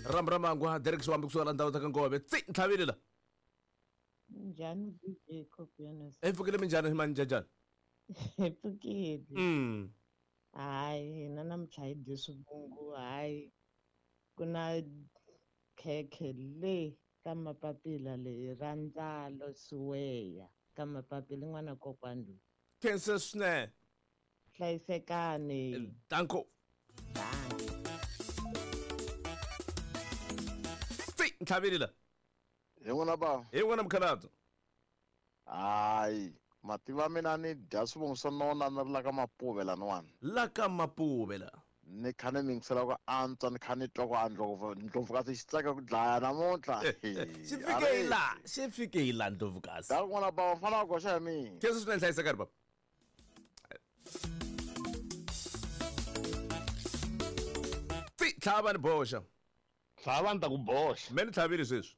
Rambu ra mangwa Derek Xiwambi kusuka la ndhawu ta ka Ngove. Tsi ntlhavile la. Njhani DJ Copianos? Hi pfukile minjhani hi manjajani? Hi pfukile. Hayi hina namuntlha hi dye swivungu hayi ku na khekhe le ka mapapila leyi ra ndzalo siweya ka mapapila n'wana kokwani loyi. Khensa swinene. Hlayisekani. Danko. Tsi ntlhavile la. Hi n'wina bava. Hi n'wina mukhalabye. Hayi mativa mina ni dya swivongo swa nona ni ri la ka Mapuve laniwani. La ka Mapuve la. Ni kha ni mingisela ku antswa ni kha ni twa ku a ndlovu ndlovukazi xi tsaka ku dlaya namuntlha. Xi fike hi la xi fike hi la ndlovukazi. Da n'wana bava mfana wa goxa hi mina. Khensa swinene hlayisekani baba. Tsi tlhava ni boxa. Tlhava ni ta ku boxa. Me ni tlhavile sweswi.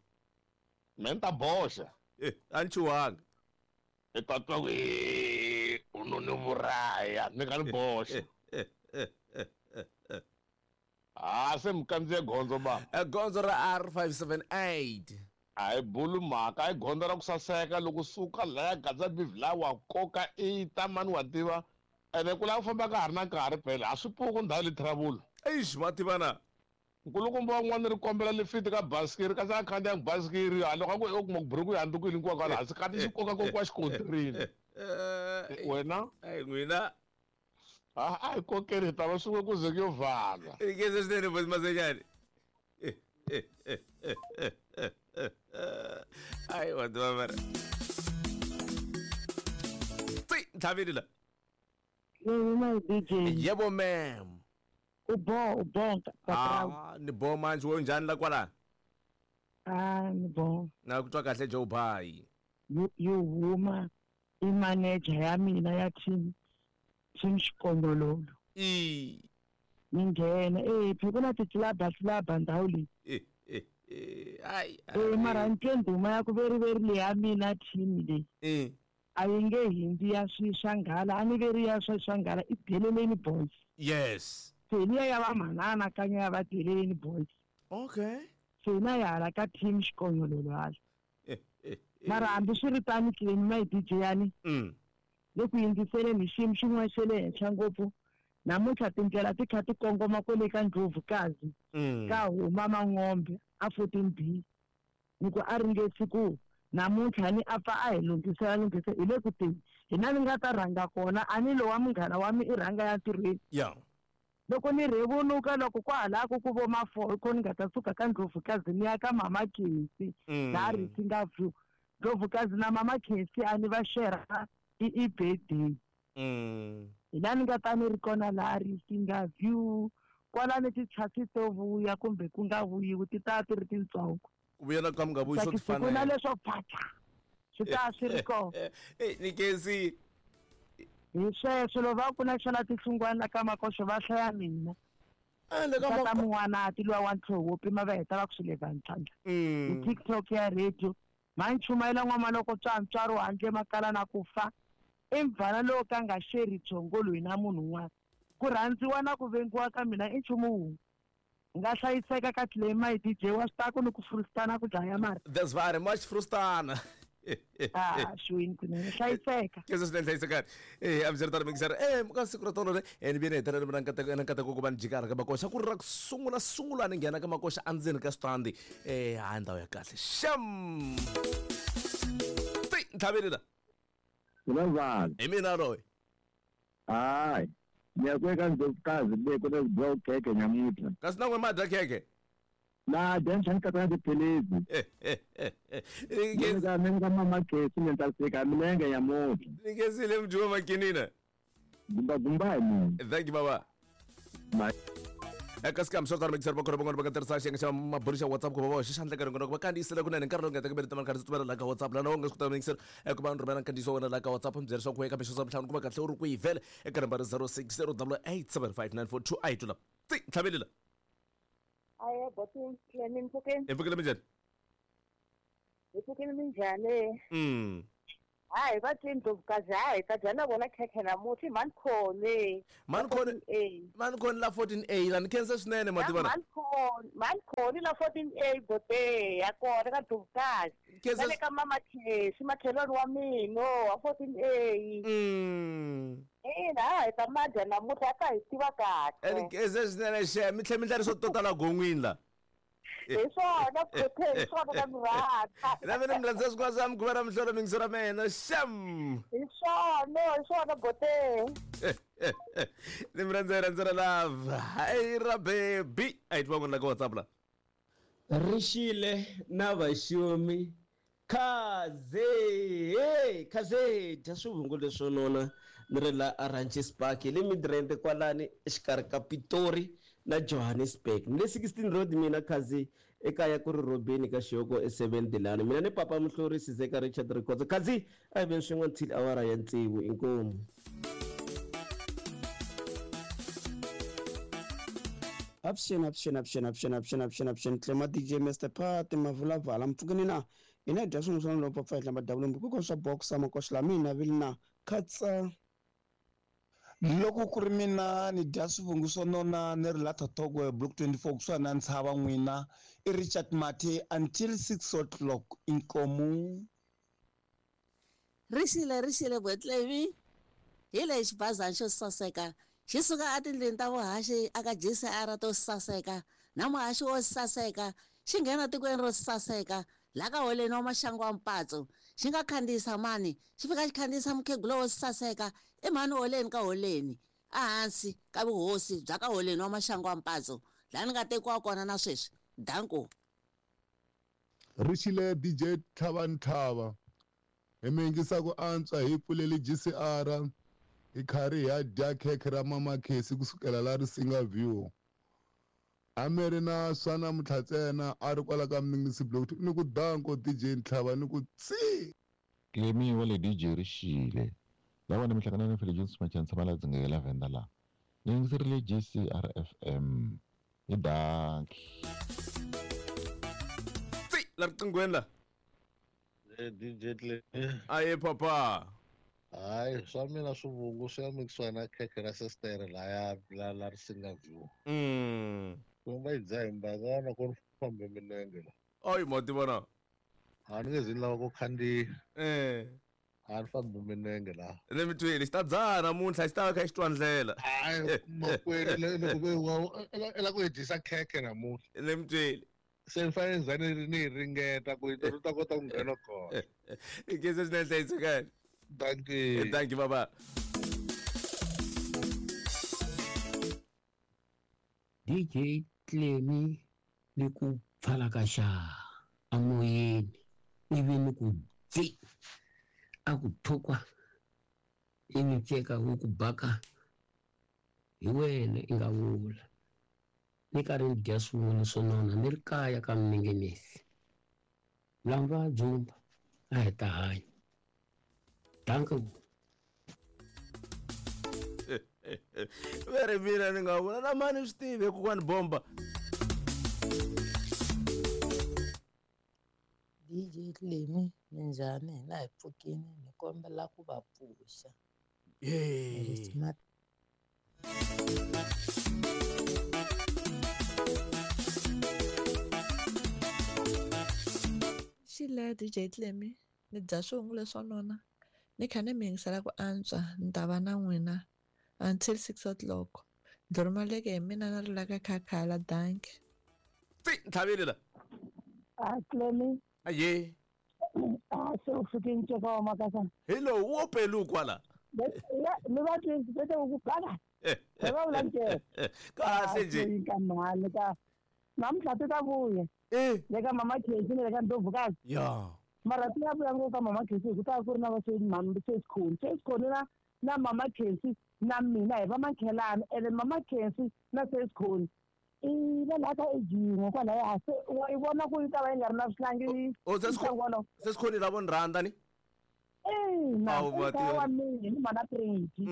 Me ni ta boxa. Eh, a ni chuhanga. I ta twa ku u no ni vuraya ni nga ni boxa. Ha se mi kandziye gondzo ba. Gondzo ra R578. A hi bulu mhaka i gondzo ra ku saseka loko suka laya gadza bivi la wa koka i ta mani wa tiva ene ku lava ku famba ka ha ri na nkarhi phela a swi pfuki ndhawu leyi travel. Eish ma tiva na. Nkulukumba wan'wana ri kombela lifiti ka basikiri kasi a khandziyangi basikiri ha loko a ku u kuma ku buruku yi handzukile hinkwako hala hansi kati xi koka kokiwa xikontirini. Wena Ai n'wina. A a hi kokeni hi ta va swin'we ku ze ku yo vhala. Khensa swinene bosi Masenyani. Ai wa tiva mara. Tsi ntlhavile la. Yebo my DJ. Yebo ma'am. U bo u bo Ah, ni bo manje wo njhani la kwala? Ah, ni bo. Na ku twa kahle Joe Bhai. Yo huma i manager ya mina ya team team Xikongololo. I Ni nghena eh phi ku na titlilaba tlilaba ndhawu leyi. Eh eh eh ai. Eh mara ni twe ndhuma ya ku veriveri leyi ya mina team leyi. Eh. A yi nge hindzi ya swi swa nghala a ni veri ya swa swa nghala i Deleleni Boys. Yes. Se liya ya va manana kanya ya va Deleleni Boys. Okay. Se hina hi hala ka team Xikonyololo hala. Mara hambi swi ri tano Clem my DJ yani. Le ku yingiseleni hi xiyimo xin'wana xa le henhla ngopfu namuntlha tindlela ti kha ti kongoma kwale ka Ndlovukazi ka huma Mangombe a 14B. Ni ku a ringesi ku namuntlha ni a pfa a hi lunghisela lunghisa hi le ku teni hina ni nga ta rhanga kona a ni lowa munghana wa mi i rhanga ya ntirhweni. Loko ni rhevunuka loko kwalaho ku vo ma 4 hi kona ni nga ta suka ka Ndlovukazi ni ya ka Mama Khensi laha Risinga View. Ndlovukazi na Mama Khensi a ni va share i birthday. Hi laha ni nga ta ni ri kona laha Risinga View kwalano tichasi to vuya kumbe ku nga vuyiwi ti ta ti ri tintsongo. Ku vuya na ka mi nga vuyi swo Tsakisi ku na leswo phacha swi ta swi ri kona. Eh ni Khensi. Hi sweswo loko va ku na xana tihlungwana la ka Makoxo va hlaya mina. Le ka Tata Mun'wanati luwa wa ntlhoho wo pima va heta va ku swi leva ntlhantlha. Hi TikTok ya radio ma ni chumayela n'wama loko tswa ntswari handle makala na ku fa. I mvana lowo ka nga xeri byongo loyi na munhu un'wana. Ku rhandziwa na ku vengiwa ka mina i nchumu wun'we. Hi nga hlayiseka ka Clay my DJ wa swi tiva ku ni ku frustana ku dlaya mara. That's very much frustana. Ah, xwini kunene hlayiseka. Khensa swinene hlayisekani. Eh, a mi ri tano mingiseri. Eh, ka siku ra tolo le, eh ni vuyele hetelela mina nkateko na nkateko ku va ni jikara ka Makoxa ku ri ra ku sungula sungula ni nghena ka Makoxa endzeni ka switandi. Eh, hayi ndhawu ya kahle. Sham. Ti ntlhaveni la. Mina vanhu. Hi mina loyi. Hayi. Ni ya ku eka Ndlovukazi le ku na dyiwa khekhe nyamuntlha. Kasi na n'we ma dya khekhe? Na dya ni katsa na tiphilisi. Ni ka mama Khesi ni ta fika milenge nyamuntlha. Ni khensile mudyiwa makinina. Gumba gumba hi mina. Thank you baba. Bye. Eka scam swo tala mikiseri va kona van'wana va nga tirhisa xiyenge xa mabulu xa WhatsApp ku va va hoxa xandla ka rin'wana va kandziyisela kunene nkarhi lowu nga ta ku ta karhi tumela laha ka WhatsApp lana u nga swi kota mikiseri ku va ni rhumela nkandziyiso wa wena laha ka WhatsApp mi byela leswaku eka mixo swa ntlhanu kuma kahle u ri kwihi vhele eka nambara 0608875942 a hi tula ti ntlhavelela. Aye, boti Clem mpfukeni. Hi pfukile minjhani? Hi pfukile minjhani? Hayi va twi Ndlovukazi, hayi ta dya na vona khekhe namuntlha i mhani Khone. Mhani Khone, mhani Khone la 14A la ni khensa swinene mativana. Mhani Khone, mhani Khone la 14A bote ya kona ka Ndlovukazi. Khensa Na le ka mama Khesi makhelwani wa mina wa 14A. Ina, hayi ta madya namuntlha a ta hi tiva kahle. Ni khensa swinene xe mi tlhe mi ndla leswo to tala gon'wini la. Hi swona Phephe, hi swona na mi rhandza. Na mina mi rhandza swikwembu swa mikhuva ra mihlolo mingiso ra mina xem. Hi swona, hi swona bote. Ni mi rhandza hi rhandza ra love. Hayi ra baby. A hi twa n'wina ka WhatsApp la. Rixile na vaxumi khaze hey khaze dya swivungu leswo nona ni ri la Ranches Park hi le Midrand kwalani exikarhi ka Pitori na Johannesburg ni le 16 Road mina khazi ekaya ku ri Robeni ka Xihoko e7 Dilani mina ni papa Muhluri Sizeka Richard Rikhotso khazi a hi veni swin'we until awara ya tsevu inkomu. Avuxeni, avuxeni, avuxeni, avuxeni, avuxeni, avuxeni, avuxeni, Tlema DJ Mr Phati Mavulavala mpfukeni na hina dya swin'we swa lowu pfa hi hlamba dabulumbi kuko swa boxa makoxa la mina vili na khatsa. Loko ku ri mina ni dya swivungu swo nona ni ri la Thothokwe block 24 kusuhani na ntshava n'wina i Richard Mathe until 6 o'clock inkomu. Rixile rixile Botlevi hi lexi xibazana xo saseka xi suka etindlwini ta vuhaxi aka GCR to saseka na muhaxi wo saseka xi nghena tikweni ro saseka laha ka holeni wa maxangu wa mpatso xi nga khandziyisa mani xi fika xi khandziyisa mukhegula wo saseka i mhani holeni ka holeni ehansi ka vuhosi bya ka holeni wa maxangu wa mpatso laha ni nga tekiwa kona na sweswi danko. Rixile DJ Tlhavantlhava hi mi yingisa ku antswa hi pfuleli GCR hi karhi hi dya khekhe ra mama Khesi kusukela la Risinga View. A mi ri na swa namuntlha ntsena a ri kwala ka Mninginisi Block ni ku danko DJ Ntlhava ni ku tsi. Clemi wa le DJ Rixile lava ni mihlangano na Philip Jones Machana tshama la dzingela Venda la ni yingiserile GCR FM hi danki. Tsi la riqinghweni la. DJ Clemi. Aye papa. Hayi swa mina swivungu swi ya mikisiwa na khekhe ra sestere laya la la Risinga View. Ku va yi dzaha hi mbangana ku ri fambe milenge la. Ayi ma tivona. A ni nge zi ni lava ku khandziya. A ni fambi milenge la. Ni mi twile xi ta dzaha namuntlha xi ta va kha xi twa ndlela. Hayi makwenu loko ve wa i la ku hi dyisa khekhe namuntlha. Ni mi twile. Se ni fanele ni za ni yi ringeta ku yi ta kota ku nghena kona. I khensa swinene hlayisekani. Thank you. Thank you, baba. DJ Clemi ni ku pfala ka xa amoyeni ivi ni ku dzi a ku thukwa ivi nceka wu ku baka hi wena i nga vula ni karhi ni dya swin'wana swo nona ni ri kaya ka Mninginisi lamba dzumba a hi ta hanya. Danko. Veri mina ni nga vula na mani swi tivi kokwani bomba. DJ Clemi minjhani hina hi pfukini ni kombela ku va pfuxa. Xile DJ Clemi ni dya swivungu leswo nona ni kha ni mi yingisela ku antswa ni ta va na n'wina until 6 o'clock. Ndzi hi mina na ri la ka khakhala danki. Tsi ntlhavile la. A Clemi. Aye. A se u fike nceka wa makasa. Hi lowu wo pelu kwala. Ni va twi bete ku baka. Va vula nceka. Kahle nje. Ka mhani ka namuntlha ti ta vuya. Le ka mama Khesi ni le ka Ndlovukazi. Ya. Mara ti ya vuya ngopfu ka mama Khesi hi ku ta ku ri na va Sesikhoni. Sesikhoni na mama Khesi na mina hi va makhelana ene mama Khesi na Sesikhoni i va laha ka ejin'we kwalaya se wa yi vona ku yi ta va yi nga ri na swihlangi. O Sesikhoni lavo ni rhandza ni? Ina wa mina ni mana Preti.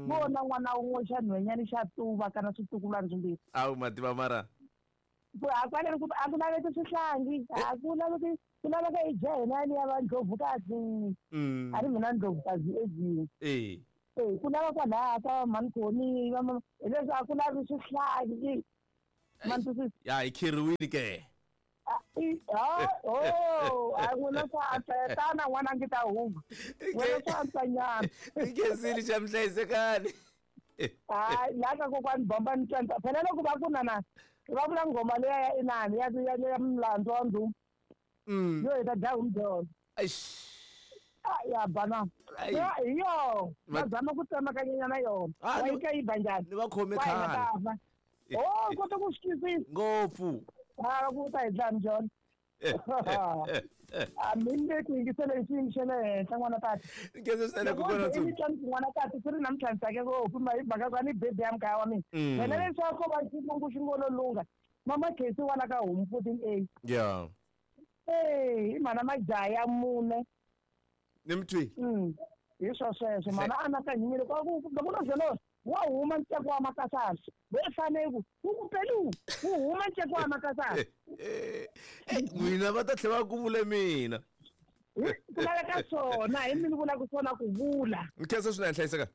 Vona n'wana wun'we xa nhwenyani xa tuva kana switukulwana swimbirhi. Awu mativa mara. A kwale ku a ku laveki swihlangi, a ku laveki ku laveka i dya hina ya va ndlovukazi. A ri mina ndlovukazi ezini. Ku lava kwalaya ka mankoni hileswi a ku lavi swihlangi. Ya hi khiriwile ke. A n'wina swa antswa tana n'wana ngi ta huma. N'wina swa antswa nyana. Nkhensile xa mhlayisekani. Hayi laha ka kokwani bomba ni twa phela loko va ku nana va vula nghoma leya ya inani ya ya mlandzu wa ndhuma. Yo hi ta dya humbyona. Ya bana. Hi yo va zama ku tsemakanyanyana yona. Va yi ka yi ba njhani? Ni va khome khale. Oh, kota ku swi twisisa. Ngopfu. A ku ta hi dlaya mbyona. A mi le ku yingisela xiyimo xa le henhla n'wana tata. Nkhensa swinene kokwana Tsumbi. N'wana tata swi ri namuntlha ni tsake ngopfu hi mhaka ku a ni bebe ya mukaya wa mina. Wena leswaku ko va xivongo xi ngo lo lungha. Mama Khesi wa la ka homu 14A. Yeah. I mhana majaha ya mune. Ni mi twi. Hi swo sweswo mhana anakanyile ku loko no byela wa huma nceko wa makasana. We fanele ku ku pelu wu huma nceko wa makasana. N'wina va ta tlhela va ku vule mina. Ku laveka swona hi mina vulaka swona ku vula. Nkhensa swinene hlayiseka.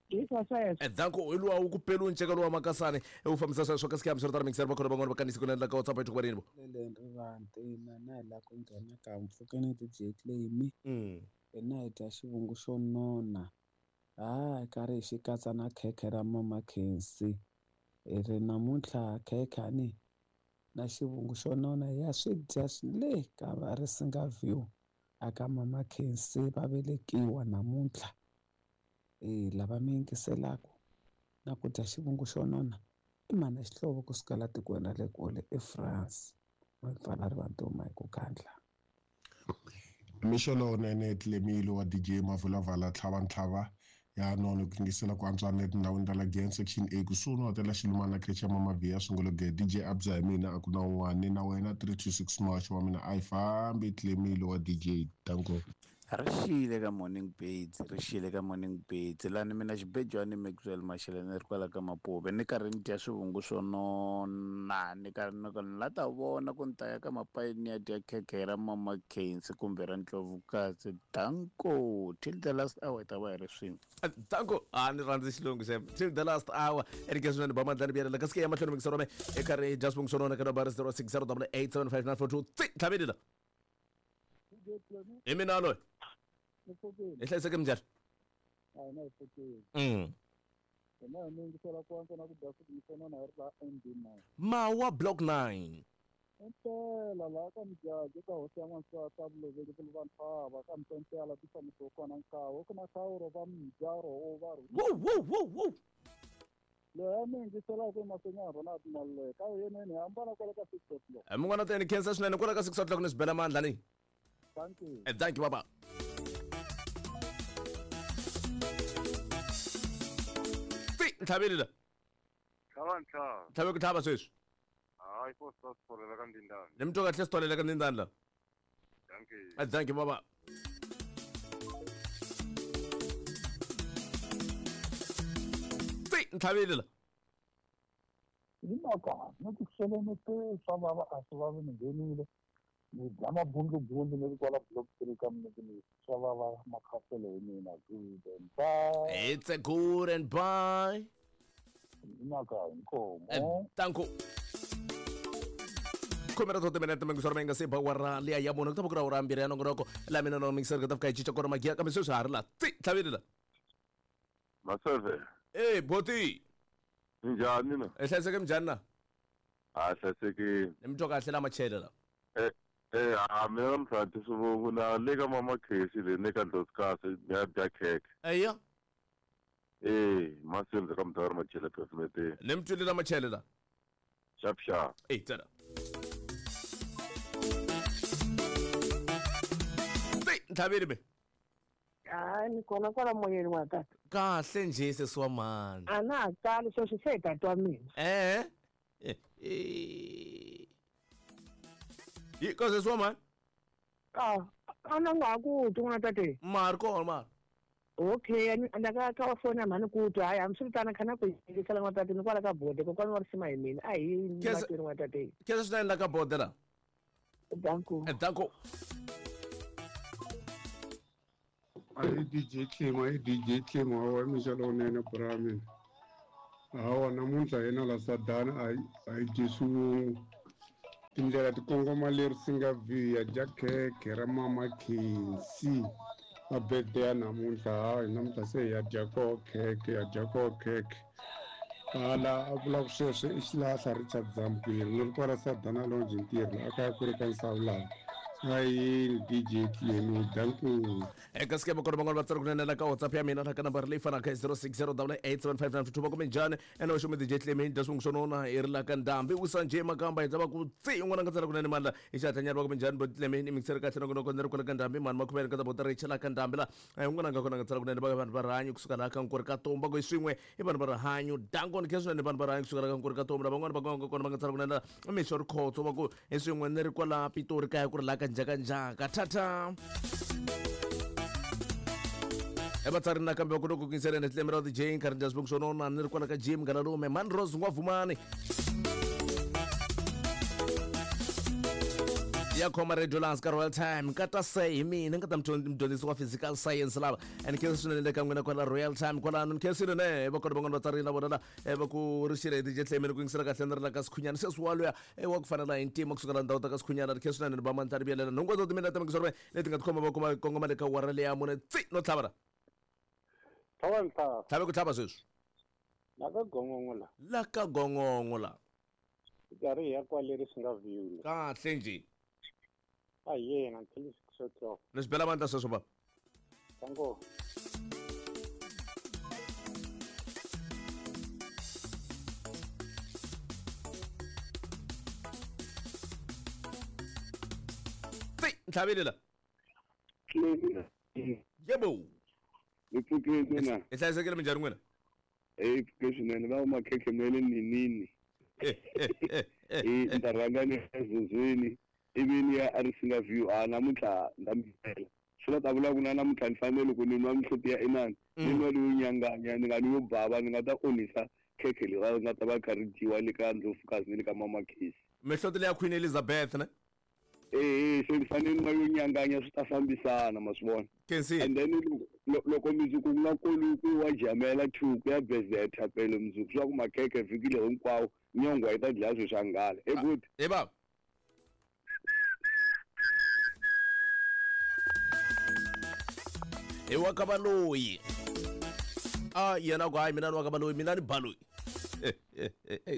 Hi swo sweswo. Danko hi luwa wu ku pelu nceka lowa makasani wu fambisa sweswo kasi kihambiselo tala mingiselo va khona van'wana va kanisi ku endla ka WhatsApp ethu vo. Leleni ri na hi la ku nghena ka mpfhukeni DJ Clemy. Hina hi dya xivungu xo nona. Hayi karhi hi xi katsa na khekhe ra Mama Khensi. Hi ri namuntlha khekhe ni na xivungu xo nona ya swi dya le ka va Risinga View aka Mama Khensi va velekiwa namuntlha. Lava mi yingiselaka na ku dya xivungu xo nona i mhana xihlovo kusuka la tikweni ra le kule eFrance. Va pfala rivanti hi ku khandla. Mixo lowunene Tlemile wa DJ Mavulavala tlhava ntlhava ya nono ku yingisela ku antswa na etindhawini ta la Glen section A kusuhi no hotela Xilumana creche ya Mama Via sungula ge DJ Abza hi mina a ku na un'wana na wena 326 March wa mina a yi fambi Tlemile wa DJ danko. Ri xile ka morning birds, ri xile ka morning birds lani mina xibejwani Maxwell Mashele ni ri kwala ka Mapuve ni karhi ni dya swivungu swo nona ni karhi ni ku ni la ta vona ku ni ta ya ka Mapayini ni ya dya khekhe ra Mama Khensi kumbe ra Ndlovukazi. Danko till the last hour hi ta va hi ri swin'we. Danko a ni rhandzi xilungu xem till the last hour erike swinene ba mandlani biyela kasi ke ya mahlweni mingiselo me e karhi dya swivungu swo nona ka nambara 0608875942 tlhaveli la. Hi mina loyi. Hi hlayiseke minjhani? Mawa block 9. Impela laha ka Mujaju ka hosi ya n'wansati a vuloveli ku vantshwa ka Mpempela ti fambisiwa kona nkawu ku na khawuro va mujaro wo va ri. Wu. Leyi mi yingiselaka emahlweni ya Ronald Maluleke ka yeneni hambana kwale ka 6 o'clock. Mun'wana teni khensa swinene kwala ka 6 o'clock ni swi bela mandla ni. Thank you. Thank you, baba. Ntlhaveli la. Tlhava ntlhava. Ntlhave ku tlhava sweswi. Hayi ko swi tsolela ka ndindani. Ni mi twa kahle swi tsolela ka ndindani la. Thank you. Thank you, baba. Ntlhaveli la. Hi mhaka ni ku xeleni swa vava a swi vavi ni nghenile. Ni dya mabundlubundlu ni ri kwala block 3 ka minete swa vava makhaselo hi mina. Good and bye. It's a good and bye. Mhaka inkomo. Thank you. Khomera to timinete mingisoro mi nga se ba wara liya ya mune ku ta va ku ri awara mbirhi ya nongonoko la mina no mingisero ku ta fika hi cinca kona magiya kambe sweswi ha ri la tlhaveli la. Maseve. Boti. Njhani na? Hi hlayiseke minjhani na? A hlayisekile. Ni mi twa kahle la machele la. A mina namuntlha dya swivungu na le ka Mama Khesi le ni ka Ndlovukazi ni ya dya khekhe. Eya. Maseve ka mudawari Machele Pefumete. Ni mi twile la machele la. Xap xap. Tsena. Ntlhaveli be. Hayi ni kona kwala moyeni wa tata. Kahle nje sesi wa mhani. A na ha tali sweswi se hi tata wa mina. Yi ka sesi wa mhani? A na nga ha ku twi n'wana tate. Ma ri kona mara. Okay, na ka ka fona mhani ku twa hayi hambiswiritano kha na ku yingisela n'watate ni kwala ka bode kokwana wa risima hi mina a hi mahlweni n'watate. Khensa swinene la ka bode la. Danko. Danko. Ahi DJ Clem, ahi DJ Clem, hawa mixo lowunene bra mina. Hawa namuntlha hina la Sadana a hi dyi swivungu. Tindlela ti kongoma leri singa view ya dya khekhe ra Mama Khensi. A birthday ya namuntlha, hayi namuntlha se hi ya dya koho khekhe, ya dya koho khekhe. Hala a vulaka sweswo i xilahla Richard Zamkwiri ni ri kwala Sadana Lounge ntirho a kaya ku ri ka Nsawulana. Ayini DJ Clemi, danko. Eka sikema kona van'wana va tsala kunene la ka WhatsApp ya mina la ka nambara leyi fanaka 0608875952 va kume njhani ene va xume DJ Clemi dya swingu swo nona hi ri la ka ndhambi wisa njhe makamba hi ta va ku tsi un'wana nga tsala kunene mani la hi xihatla va kume njhani bo Clemi ni mixere kahle nongonoko ni ri kwala ka ndhambi mani makhumele ka ta bota richa la ka ndhambi la un'wana nga kona nga tsala kunene va vanhu va rihanyo kusuka laha ka nkori ka tomba ku hi swin'we i vanhu va rihanyo danko ni khensa swinene vanhu va rihanyo kusuka laha ka nkori ka tomba lavan'wana va nga kona va nga tsala kunene la mixo rikhotso va ku hi swin'we ni ri kwala Pitori kaya ku ri la ka njakanjaka thata evatsari nakambe va kota ku kinseleni tlemi ra DJ nkarhi ndya swivongo swo nona ni ri kwala ka gym ngalalume man rose n'wavumani ya khoma radio lance ka royal time nkata se hi mina nkata mudyondzisi wa physical science lava and khensa swinene le ka n'wina kwala royal time kwalano ni khensile ne va kona van'wana vatsari na vona la va ku ri xile DJ Tlemi ni ku yingisela kahle ni ri la ka Sikhunyana sweswi wa luya wa ku fana na hi ntima kusuka la ndhawu ta ka Sikhunyana ri khensa swinene ni ba mandla ri vuyelela nhungu wa timina ta mingisoro leti nga tikhoma va kuma kongoma le ka wara leya mune tsi no tlhava la tlhava ntlhava tlhave ku tlhava sweswi la ka gongongo la la ka gongongo la karhi hi ya kwale ri swi nga view kahle njhe a hi yena until 6 o'clock. Ni swi bela mandla sweswo baba. Tango. Tsi ntlhavile la. Yebo. Ni pfukile na. Hi hlayisekile minjhani n'wina? Eh, pfuke swinene va makhekhe ma le ninini. Eh, ni ta rhanga ni ya ezozweni ivi ni ya a Risinga View a namuntlha ni ta mi byela. Swi la ta vula ku na namuntlha ni fanele loko ni nwa mihloti ya inani ni nwa leyo nyanganya ni nga ni yo bava ni nga ta onhisa khekhe leri ri nga ta va kha ri dyiwa le ka Ndlovukazi ni le ka Mama Khesi. Mihloti leya Queen Elizabeth ne? Eh, se ni fanele ni nwa yo nyanganya swi ta fambisana ma swi vona. Khensi. And then loko mundzuku ku nga koliwi ku wa jamela 2 ku ya bezetha pele mundzuku swa ku makhekhe vhiki leri hinkwawo nyongwa yi ta dlaya swilo swa nghala. E good. He baba. Hi wa ka valoyi. A yena ku hayi mina ni wa ka valoyi mina ni baloyi.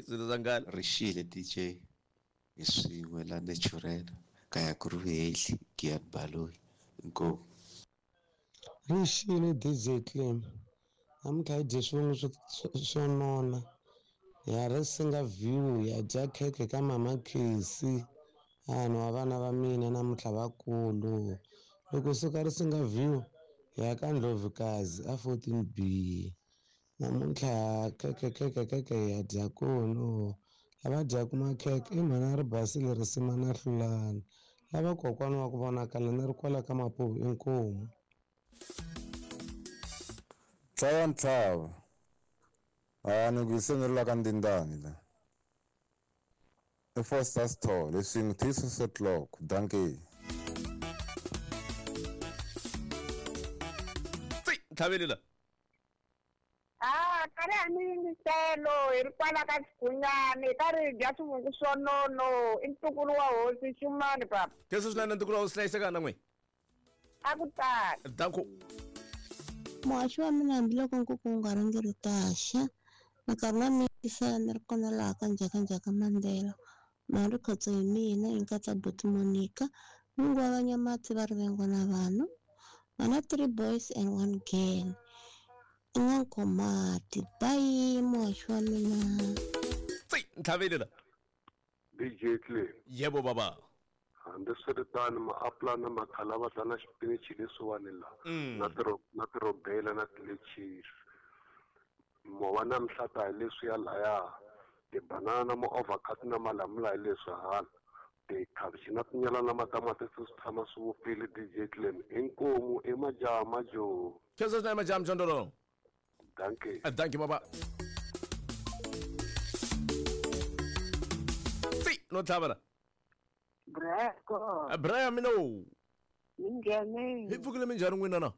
Swilo swa nghala. Rixile DJ hi swin'we la natural kaya ku ri vuhehli Giyani Baloyi inkomu. Rixile DJ Clem namuntlha hi dye swivongo swo nona ya Risinga View ya dya khekhe ka Mama Khesi vanhu wa vana va mina namuntlha vakulu loko suka Risinga View ya ka Ndlovukazi a 14B namuntlha khekhe khekhe khekhe ya dya kono lava dyaka makhekhe i mhana ri basile risima na hlulani lava kokwana wa ku vonakala ni ri kwala ka Mapuve inkomu. Tlhava ntlhava a ni ku se ni ri la ka ndindani la i Foster Store leswi n'wi till 6 o'clock dankie. Tsi ntlhaveli la. Ah, karhi a ni yingiselo hi ri kwala ka Xigunyani hi karhi hi dya swivungu swo nono i ntukulu wa hosi Xumani papa. Khensa swinene ntukulu wa hosi hlayiseka na n'wina. A ku tali. Danko. Muhaxi wa mina hambiloko nkuku wu nga rhangi ri ta xa minkarhi na mi ni ri kona laha ka Njhakanjhaka Mandela mali khotso hi mina yi katsa buti Monica n'wingi wa Vanyamatsi va rivengwa na vanhu vana 3 boys and 1 girl i n'wankomati bye muhaxi wa mina. Tsi ntlhaveli la. DJ Clem. Yebo baba. Hambiswiritano maapula na makhalavahla na xipinichi leswiwani la na tirobela na tilechisi mova na mihlata hi leswiya laya tibanana na ma-avocado na malamula hi leswi hala Tikhavichi na tinyala na matamatisi swi tshama swi vupfile DJ Clem. Inkomu i majaha majoho. Khensa swinene majaha mjondolo. Dankie. Dankie baba. Tsi no tlhavela. Breko. Brian mina. Minjhani? Hi pfukile minjhani n'wina na?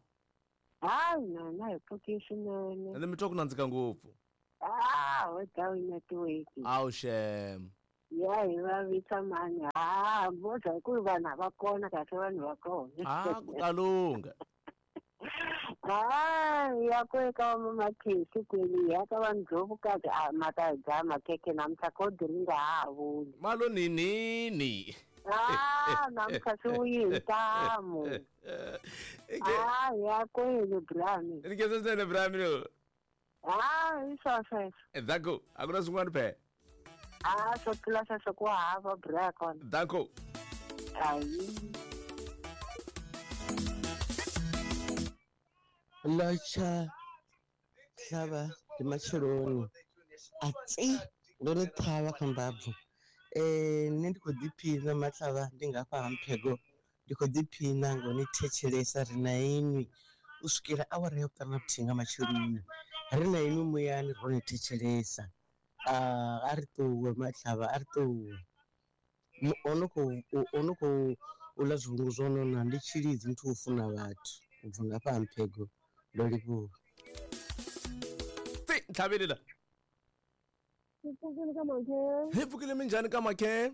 Hayi na hi pfukile swinene. Ene mi twa ku nandzika ngopfu. Ah, without network. Awu shem. Ya hi vavisa mani. Ah, boza ku vanhu va kona kahle vanhu va kona. Ah, ku ta lungha. Ah, ya ku eka vamakhesi kweli ya ka vanhu Ndlovukazi a ma ta dya makhekhe namuntlha kodi ri nga ha vuli. Malo ninini. Ah, namuntlha swi vuyi hi ntamu. Ah, ya kweli Brami. Ni khensa swinene Brami lo. Ah, hi swo sweswo. Danko, a ku na swin'wana phe. Ah, swo tlula sweswo ku hava bra kona. Danko. Ayi. Lotsha tlhava ndi matsheloni a tsi ndo ri ṱhavha kha mbabvu. Nṋe ndi khou ḓiphina matlhavha ndi ngafha ha Mphego, ndi khou ḓiphina ngo ni thetshelesa ri na inwi u swikela awara ya vhuṱanu na vhuthihi nga matsheloni, ri na inwi muyani ro ni thetshelesa. A ri ṱuwe matlhavha, a ri ṱuwe. Ono khou uḽa zwivhungu zwo nona ndi tshilidzi muthu wo funa vhathu u bva ngafha ha Mphego. Ndo livhuwa. Tsi ntlhaveli la. Hi pfukile ka makhe. Hi pfukile minjhani ka makhe?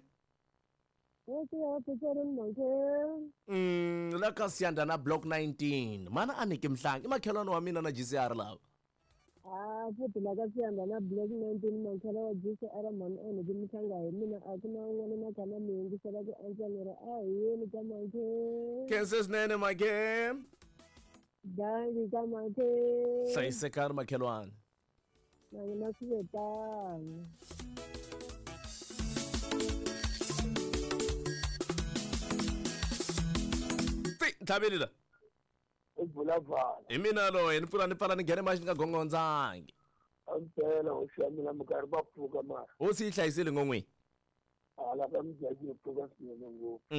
La ka Siyanda na block 19. Mana a niki mhlangi i makhelwani wa mina na GCR lava. Ah, futhi la ka Siyanda na block 19 makhelwa wa GCR mhani a niki mhlanga hi mina a ku na un'wana na khana mi yingisela ku antswa ni ri a hi yeni ka makhe. Khensa swinene makhe. Dankie ka makhe. Hlayisekani makhelwani. Na n'wina swi ve tano. Tsi ntlhaveli la. I Bulavala. Hi mina loyi ni pfula ni pfala ni nghene maxini ka gongondzangi. A mpela hosi ya mina minkarhi va pfuka mara. Hosi yi hlayisile ngon'wini. Hala ka Mudyaxihi yi pfuka swinene ngopfu.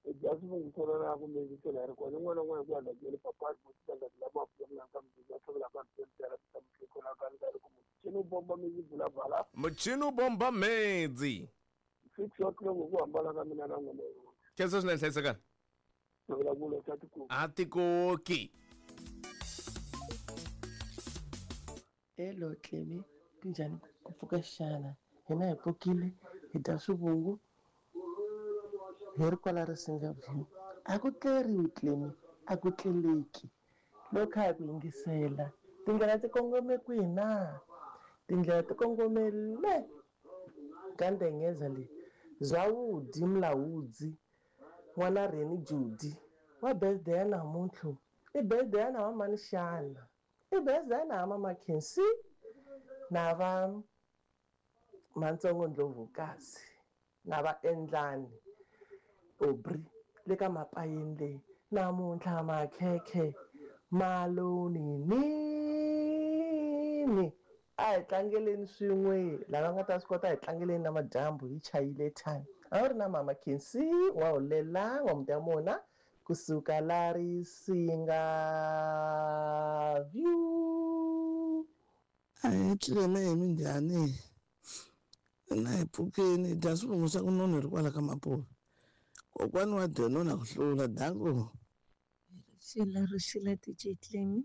I dya swivungu swo nona kumbe yingisela hi ri kona un'wana na un'wana ku ya ndhakeni papa lama pfunaka muchini bomba mezi Bulavala. Muchini bomba mezi. 6 o'clock ku hambana ka mina na n'wina. Khensa swinene hlayisekani. A tikoki. Hello Clemi, kunjhani ku pfuka xana? Hina hi pfukile hi dya swivungu hi ri kwala Risinga View. A ku tleriwi Clemi, a ku tleleki. Loko hi ku yingisela tindlela ti kongome kwihi na? Tindlela ti kongome le ka Ndengeza le. Zawudi Mlawudzi n'wana Reni Judi wa birthday ya namuntlha. I birthday ya na va mani xana? I birthday ya na va Makhensi na va Mantsongo Ndlovukazi na va Endlani Aubrey le ka Mapayeni leyi. Namuntlha makhekhe maloni nini. A hi tlangeleni swin'we lava nga ta swi kota hi tlangeleni na madyambu hi chayile time. A wu ri na mama Khensi wa hulela wa muti ya mona kusuka la Risinga View. A hi tlilene hi minjhani? Na hi pfukeni hi dya swivungu swa ku nona hi ri kwala ka Mapuve. Kokwani wa Denona ku hlula danko. Rixile DJ Clemi.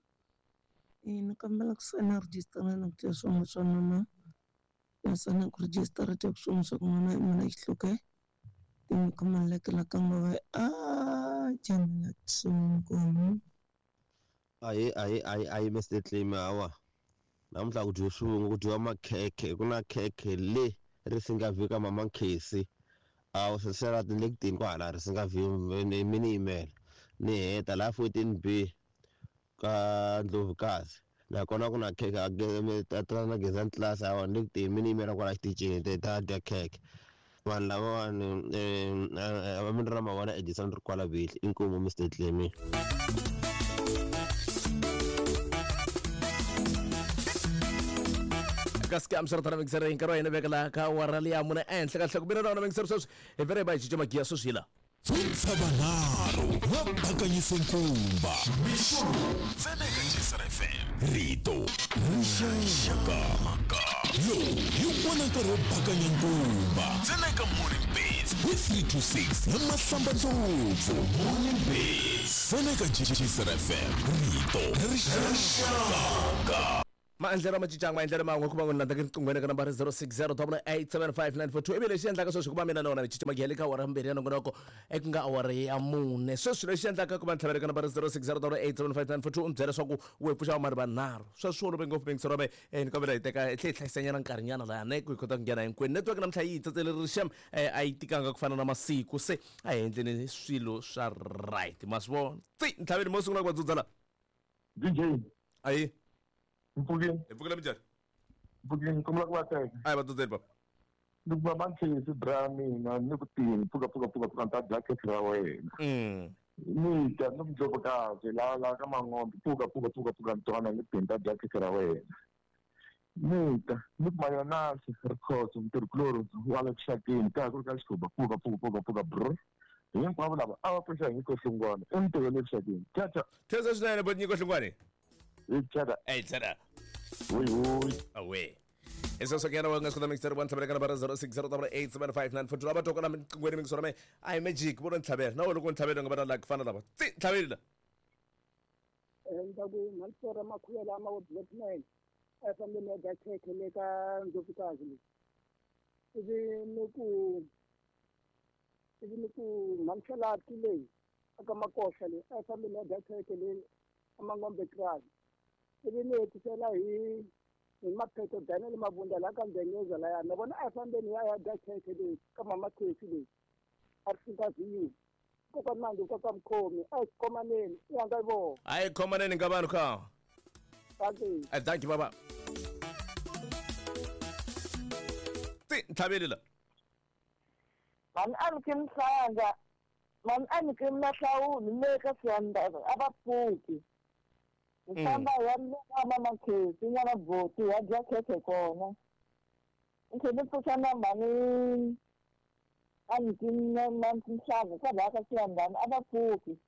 Ni kombela ku sayina rejistara na ku dya swivungu swa nona. Na sayina ku rejistara dya swivungu swa ku nona hi mina Xihluke. Tinkomelekela ka ngova a jamela tsongo. Ayi ayi ayi ayi Mr Clemi hawa. Namuntlha ku dyiwa swivungu ku dyiwa makhekhe ku na khekhe le Risinga View ka mama Khesi. Awu sesela le ku tini kwahala Risinga View mi ni yimela. Ni heta laha 14B ka Ndlovukazi. Nakona ku na khekhe a na Gezani class hawa ni le ku tini mi ni yimela kwala xitichini ta dya khekhe. Vanhu lavawani a mi ri na mavona Edison ri kwala Bihli. Inkomu Mr Clemi. Kasi ke amsara mixer hi nkarhi wa hina veka laha ka awara liya mune ehenhla ka nhloko. Mina na wona mixer sweswi hi vele hi ba hi cinca magiya sweswi hi la. Tsontshavanharhu va bakanyise nkumba. Mixo ntsena eka Jisr FM. Rito rixaka. Lowu hi wona nkarhi wo bakanya nkumba. Ntsena eka Morning Beats hi 3 to 6 na Mahlamba Ndlopfu. Morning Beats ntsena eka Jisr FM. Rito rixaka. Maendlelo ma cincanga, maendlelo man'we ku va n'wi landza riqinghweni ka nambara 0608875942. Ivi lexi endlaka sweswi ku va mina na wona ni cinca magiyele ka awara mbirhi ya nongonoko eku nga awara ya mune. Sweswi lexi endlaka ku va ni tlhavela ka nambara 0608875942 u ni byela leswaku we pfuxa vamari vanharhu. Sweswo olove ngopfu mingisero ni kombela hi teka hi tlhe hi hlayisanyana nkarhinyana laha ne ku hi kota ku nghena hinkwenu. Network namuntlha yi hi tsatseleri xem, a yi tikanga ku fana na masiku, se a hi endleni swilo swa right. Ma swi vona tsi ntlhaveni mo sungula ku va dzudza la. DJ. Ayi. Mpfukeni. Hi pfukile minjhani? Mpfukeni, kombela ku va teka. A hi va dzudzeni papa. Ni ku va manchesi bra mina ni ku tini pfuka pfuka pfuka pfuka ni ta dya khekhe ra wena. Ni ta ni ku ndlovukazi la la ka Mangombe pfuka pfuka pfuka pfuka ni twana ni ku ni ta dya khekhe ra wena. Ni ta ni ku mayonasi Rikhotso mutirhikulori wa le Kuxakeni ka ha ku ri ka Xikhuba pfuka pfuka pfuka pfuka brr. Hinkwavo lava a va pfuxa hi Nyiko Hlungwane entirhweni le Kuxakeni. Tcha tcha. Khensa swinene boti Nyiko Hlungwane. Tcha. Ey tcha. Hoi hoi. Awe. Eso ke yena nga swi kota mixer wa ntlhavela ka nambara 0608875942. Lava twaka na miqinghweni mingisoro me a hi magic vo no ntlhavela na wena loko ntlhavela nga va na luck fana lava tsi ntlhaveli la. Ndza ku mhalisora makhuyela ama wo blackman a fambeni ya dya khekhe le ka ndlovukazi leyi. Ivi ni ku mhanisalati leyi aka makoxa leyi a fambeni ya dya khekhe leyi amangombe krali. Ivi ni hetisela hi maphetho Daniel Mabunda la ka Ndenyeza laya na vona a fambeni ya dya khekhe leyi ka mama Khesi leyi a ri fika vhiyu koka manje koka mkhomi a hi khomaneni i ya nga vona. A hi khomaneni nga vanhu ka. Thank you. Thank you baba. Tsi ntlhaveli la. Mani a ni ki mhlanga, mani a ni ki mahlawuli le ka siyanda a va pfuki. Hi famba hi ya ka mama Khesi n'wana Boti ya dya khekhe kona. Ni tlhela ni pfuxa na mhani a ni ki mhlanga kwalaya ka siyandani a va pfuki.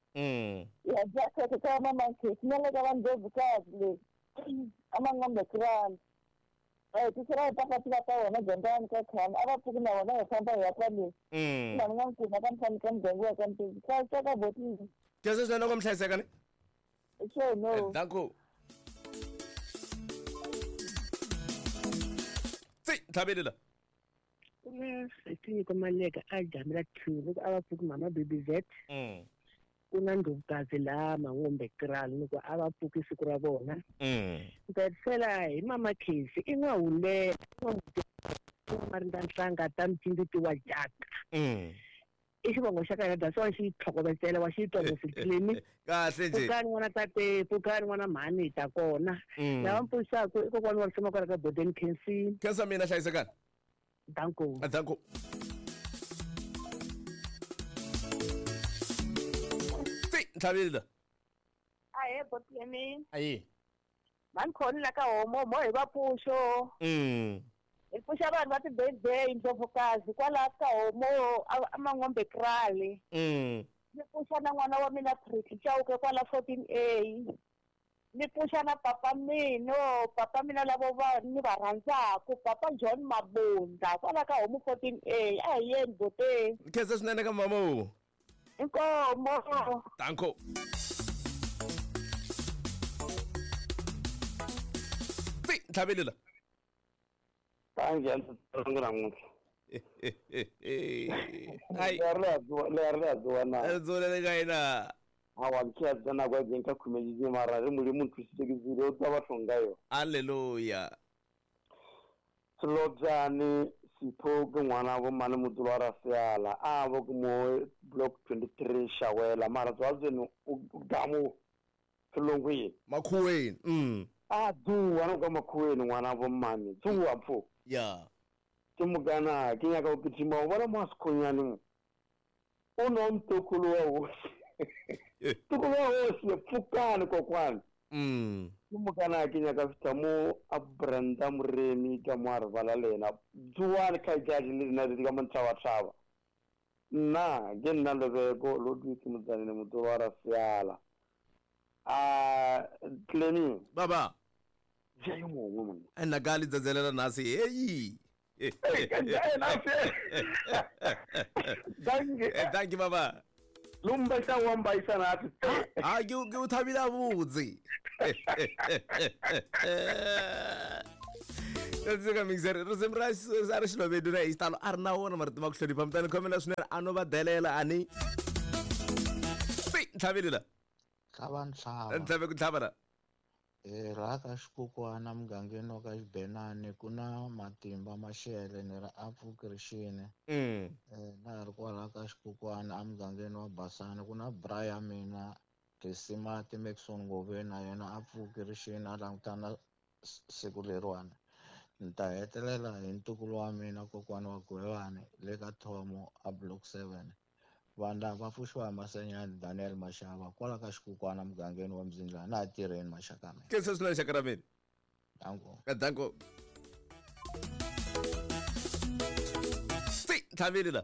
Ya dya khekhe ka mama Khesi na le ka vandlovukazi le a Mangombe krali. Tisela hi papatila ka wena dyondzani ka khale a va pfuki na wona hi famba hi ya kwale. Mani nga nkuma ka mfani ka muganga wa ka Mpezi ka ka Boti. Khensa swinene loko mi hlayiseka ni. Sure, no. Thank you. Tsi ntlhaveli la. Ku na Setinyiko Maleka a jamela 2 loko a va pfuki mama Baby Z. Ku na ndlovukazi laha Mangombe krali loko a va pfuki siku ra vona. Ndzi ta hetisela hi mama Khesi i n'wahulela marinda nhlanga ta mcinditi wa jaka. I xivongo xa ka hina that's why xi tlhokovetsela wa xi twa mositlimi. Kahle nje. Pfukani n'wana tate, pfukani n'wana mhani hi ta kona. Lava mi pfuxaka i kokwana wa risima kwala ka Borden Khensini. Khensa mina hlayisekani. Danko. Danko. Tsi ntlhaveli la. Ahe boti ya mina. Ayi. Mani khoni la ka homo mo hi va pfuxo. Hi pfuxa vanhu va ti-birthday ndlovukazi kwalaha ka homo a Mangombe krali. Ni pfuxa na n'wana wa mina Pretty Chauke kwala 14A. Ni pfuxa na papa mina, papa mina lavo va ni va rhandzaku, papa John Mabunda kwala ka homo 14A. A hi yeni bote. Khensa swinene ka mama wo. Inkomo. Danko. Tsi ntlhaveli la. Kanjhani namuntlha? Ai. Leri ri dzuwa na. Ri dzulele ka yena. Hawa nkhiya na kwa jenka khumejiji mara ri muli muntu thusile o twa batho nga yo. Hallelujah. Selobyane Sipho ke ngwana bo mane motolo wa Raseala a bo ke mo block 23 Shawela mara tswa o gamo Selongweni Makhuweni. A dzuwa no ka Makhuweni ngwana bo mane dzuwa pfo. Ya. Ke mugana ke nyaka go kitima o bona mo sekhonyane o no mtokolo wa hosi. Tokolo wa hosi pfukani kokwana. Ke mokana ke nyaka fihla mo a Brenda Moremi ka mo a re bala le yena. Tsoane kgaetšadi le lena le ka mo ntšhabatšhaba. Nna ke nna Lebeko Ludwig Motsanene Motoro wa Raseala. A Clemy. Baba. Ja yo mongwe monna. Nna ka le tsatselela nase heyi. Danke. Thank you baba. Lumba sa wa mbaisa na ati. Ah ke o thabile a botse. Tse ka mixer re se mra sa re xilobedu na istalo a ri na wona marito ma ku hlonipha mutani khomela swinene a no va delela ani. Ntlhaveli la. Tlhava ntlhava. Ntlhave ku tlhava la. Laha ka xikukwana mugangeni wa ka Xibenani ku na Matimba Mashele ni ri a pfuki rixini. Na ha ri kwalaha ka xikukwana emugangeni wa Basani ku na bra ya mina Risimati Maxon Ngoveni na yena a pfuki rixini a langutana siku leriwani. Ni ta hetelela hi ntukulu wa mina kokwana wa Gwevani le ka Thomo a Block 7. Vanhu lava va pfuxiwa hi Masenyani Daniel Mashava kwala ka xikukwana mugangeni wa Mzindlana na ha tirheni maxaka mina. Ke se swinene xaka ra mina. Danko. Danko. Si tlhaveli la.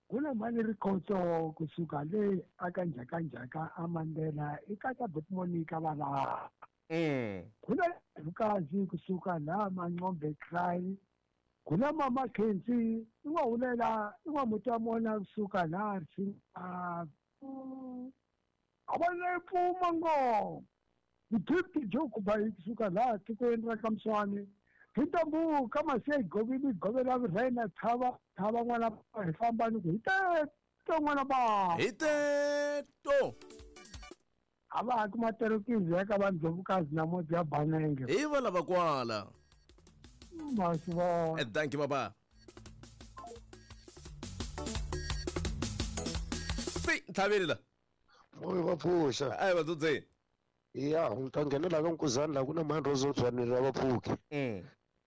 Ku na mali rikhotso kusuka le aka njhakanjhaka a Mandela i katsa Botmonica va laha. Ku na Vukazi kusuka laha Mancombe Cry. Kuna mama Kenzi i n'wa hulela i n'wa mutamona kusuka laha Risinga. A va le pfuma ngo. Gift Joke ba kusuka laha tikweni ra ka Mswani. Hi ka masiya govini govela vurhena thava thava n'wana hi famba ni ku hi teto n'wana ba. Hi teto. A va ha kuma terekizi ya ka vandlovukazi na moti ya Banenge. Hi va lava kwala. Masivona. Thank you baba. Si ntlhaveli la. Moyo va pfuxa. Ai va dzudzeni. Ya, ni ta nghenela ka Nkuzani laha ku na mhani ro zotswanini ra vapfuki.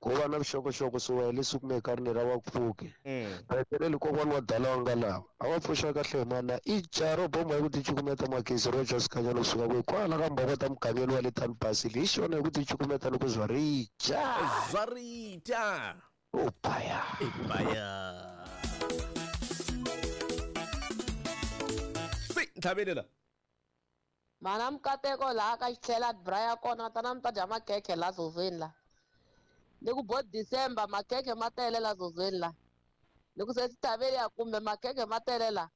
Ko va na vuxokoxoko swi wena leswi kumeka ri ni ra vapfuki. Heteleli kokwana wa dala wa nga lava. A va pfuxa kahle mana i jaro bomba hi ku ti cukumeta magezi ro ja sikanyana kusuka kwihi kwala ka mbokota mugangeni wa le Town Basile hi xona hi ku ti cukumeta loko zwa ri dya. Zwa ri dya. O baya. Baya. Si ntlhaveli la. Mana mukateko laha ka xitlhela bra ya kona tana mi ta dya makhekhe la zozweni la. Ni ku bo December makhekhe ma tele la zozweni la. Ni ku se taveli ya kumbe makhekhe ma tele la.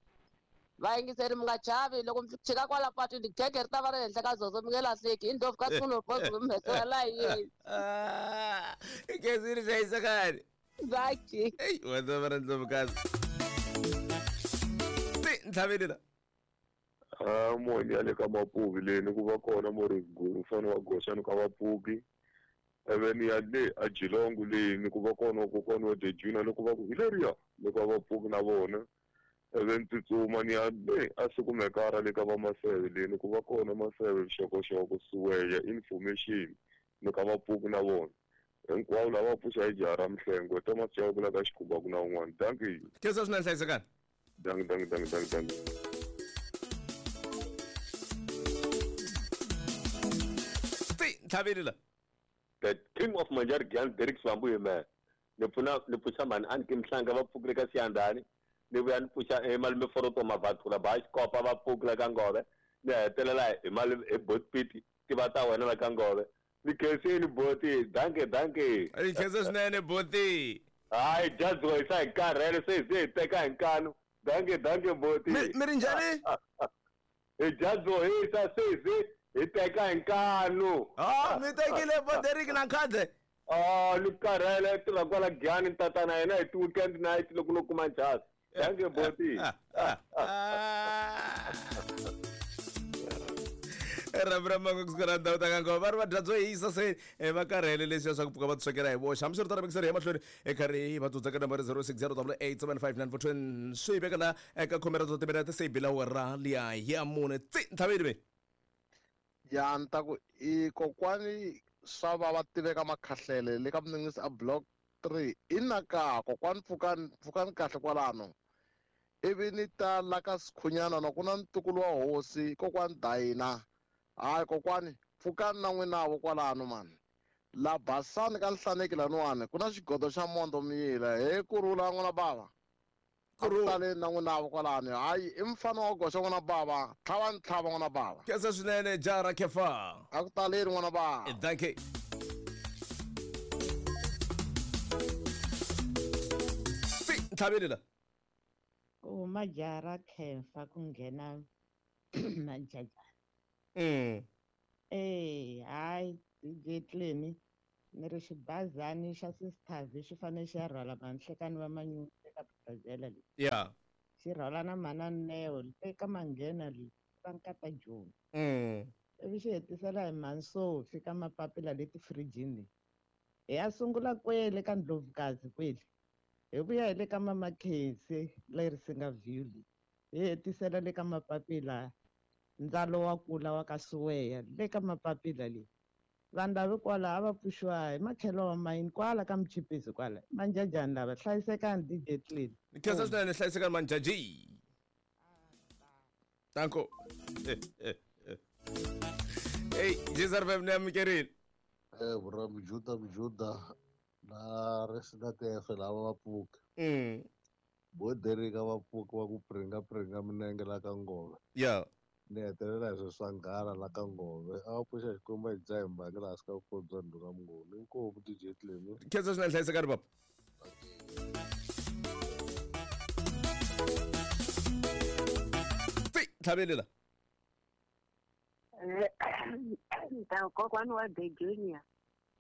Va yingiseri mi nga chavi loko mi chika kwala patwini khekhe ri ta va ri henhla ka zozo mi nge lahleki i ndlopfu ka tsuno bozo mi humesela la yini. Gezi ri hlayisekani. Zaki. Ei, wa ta va ri ndlopfukazi. Ti ntlhaveli la. A moni ya le ka Mapuvi leyi ku va kona mo ri mfana wa Goxani ka Vapuki. Ivi ni ya le a Geelong leyi ku va kona kokwana wa Dejuna loko va ku hi leriya loko va Vapuki na vona. Ivi ni tsutsuma ni ya le a Sukumekara le ka va Maseve leyi ku va kona Maseve xokoxoko Suweya information ni ka Vapuki na vona. Hinkwavo lava pfuxa hi jaha ra Mihlengo Thomas Chauke la ka Xikhumba ku na un'wana. Thank you. Khensa swinene hlayisekani. Dank dank dank dank dank. Ntlhaveli la. The king of Manjari Gyan Derek Swambu man. Ni pfuna ni pfuxa mhani a ni ke Mhlanga va pfukile ka Siyandhani. Ni vuya ni pfuxa malume Foroto Mavathula ba Xikopa va pfukile ka Ngove. Ni hetelela hi mali hi Botpiti ti va ta wena la ka Ngove. Ni khensini boti, danke danke. Ni khensa swinene boti. Hayi jadziwa hi sa hi karhele se hi teka hi nkanu. Danke danke boti. Mi ri njhani? Hi jadziwa hi sa se hi teka hi nkanu. Ah, mi tekile bo Derek na khadze. Ah, ni karhele tirha kwala Giyani tatana yena hi ti-weekend night loko no kuma njhasi. Danke boti. Rhambi ra mango kusuka na ndhawu ta ka Ngoma va ri va dya byo hisa se va karhele leswiya swa ku pfuka va tiswekela hi voxe. Hambiswiritano mixere ya mahlweni e karhi va dzudza ka nambara 06087594 swi veka la eka khume ra timinete se yi bila awara liya ya mune tsi ntlhaveli ve. Ya ni ta ku i kokwani swa va va tiveka makhahlele le ka Mninginisi a Block 3 i na ka kokwani pfukani pfukani kahle kwalano. Ivi ni ta la ka Sikhunyana na ku na ntukulu wa hosi kokwani Dayina. Hayi kokwani Pfukani na n'winavo kwalano mani. La basani ka nhlaneki laniwani ku na xigodo xa mondo miyila he kurhula n'wana bava. Kurhula na n'winavo kwalano. Hayi i mfana wa goxa n'wana bava. Tlhava ntlhava n'wana bava. Khensa swinene jara Kefa. A ku taleni n'wana bava. Thank you. Ntlhaveli la. Ku huma jara Kefa ku nghena Manjajana. Hayi DJ Clemi ni ri xibazani xa Sister V xi fanele xi ya rhwala vanhlekani va manyunyu eka Brazil leyi. Yeah. Xi rhwala na mhana Neo eka Manghena leyi va nkata Joni. Ivi xi hetisela hi Mhani ka mapapila leti firijini leyi. Hi ya sungula kwele ka Ndlovukazi kwele. Hi vuya hi le ka Mama Khensi le Risinga View leyi. Hi hetisela le ka mapapila ndzalo wa kula wa ka Suweya le ka mapapila leyi. Vanhu lava kwala a va pfuxiwa hi makhelo wa mayini kwala ka Mchipisi kwala. Manjajani lava hlayisekani DJ Clean. Khensa swinene hlayisekani Manjaji. Danko. Hey, Jezar Fem ni amukerile. Bra Mjuda na Resina TF lava va pfuka. Bo Derika va pfuka va ku pringa minenge la ka Ngove. Yeah. Ni hetelela hi sweswo swa nghala la ka Ngove. A va pfuxa Xikwembu a hi dzaha hi mbangi laha swi ka vukosi bya ndhuna Mnguni. Inkomu DJ Clemi. Khensa swinene hlayisekani papa. Ntlhaveli la. Kokwani wa The Junior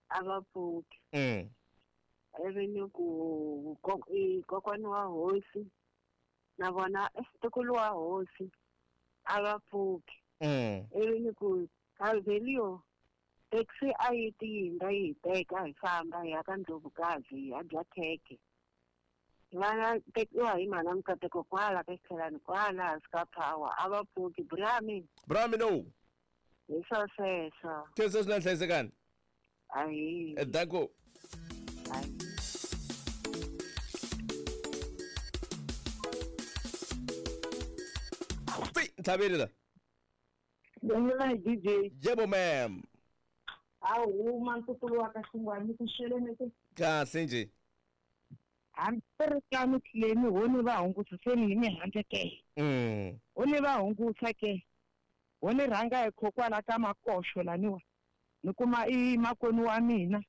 a va pfuki. Ivi ni ku kokwani wa hosi na vona ntukulu wa hosi a va pfuki. Ivi ni ku Calvelio taxi a yi tiyindza yi hi teka hi famba hi ya ka Ndlovukazi hi ya dya khekhe. Vana tekiwa hi mhana Mukateko kwala ka xithelani kwala hansi ka power a va pfuki. Brami. Brami no. Hi swo sweswo. Khensa swinene hlayisekani. Ahi. Danko. Ntlhaveli la. Bongela DJ. Yebo ma'am. A huma ntukulu wa ka Xingwani ku xelene ke. Kahle nje. Hambiritano Clemi ho ni va hungusiseni hi mihandle ke. Ho ni va hungusa ke. Ho ni rhanga hi khokwala ka Makoxo laniwa. Ni kuma i makwenu wa mina.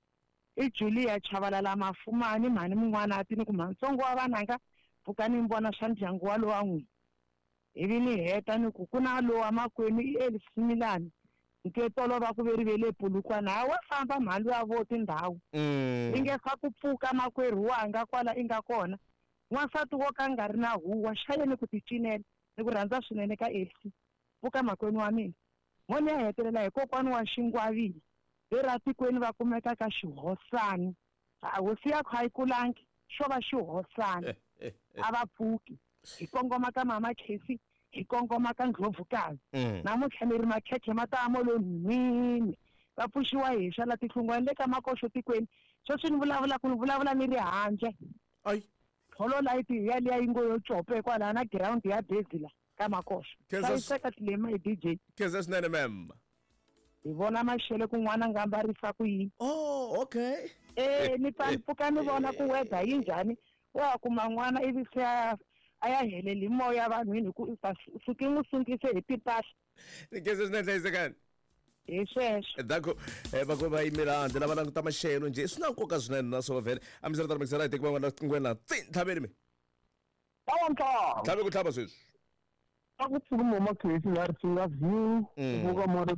I Julia Chavalala Mafumani mhani mun'wana a ti ni ku mhantsongo wa vananga pfukani mi vona swa ndyangu wa lowa n'wina. Ivi ni heta ni ku ku na lowa makwenu i Elsimilani nketolo va ku veri ve le Polokwane ha wa famba mhani wa vo tindhawu. I nge fa ku pfuka makwerhu wanga kwala i nga kona. N'wansati wo ka nga ri na huwa xayeni ku ti cinela ni ku rhandza swinene ka Elsi. Pfuka makwenu wa mina. Mo ni ya hetelela hi kokwani wa Xingwavile lera tikweni va kumeka ka xihosani. Hosi ya kha yi kulangi xo va xihosani. A va pfuki. Hi kongoma ka Mama Khesi, hi kongoma ka Ndlovukazi. Namuntlha ni ri makhekhe ma ta mo lo nhwini. Va pfuxiwa hi swa la tihlungwana le ka Makoxo tikweni. Sweswi ni vulavula ku ni vulavula ni ri handle. Ayi. Tholo light ya liya yi ngo yo cope kwala na ground ya bezi la ka Makoxo. Hlayiseka Clemi hi DJ. Khensa swinene ma'am. Hi vona maxelo kun'wana nga ambarisa ku yini. Oh, okay. Ni pfuka ni vona ku weather yi njhani. Wa kuma n'wana ivi se a ya heleli moya vanhwini hi ku suki n'wi sungise hi timpahla. Ni khensa swinene hlayisekani. Hi sweswo. Danko va ku va yimela handle lava languta maxelo njhe swi na nkoka swinene naswona vhele a mi swi ri hi teki van'wana ngwena tsi ntlhaveni mi. Tlhave ku tlhava sweswi. A ku pfuka Mama Khesi la Risinga View, ku pfuka Mari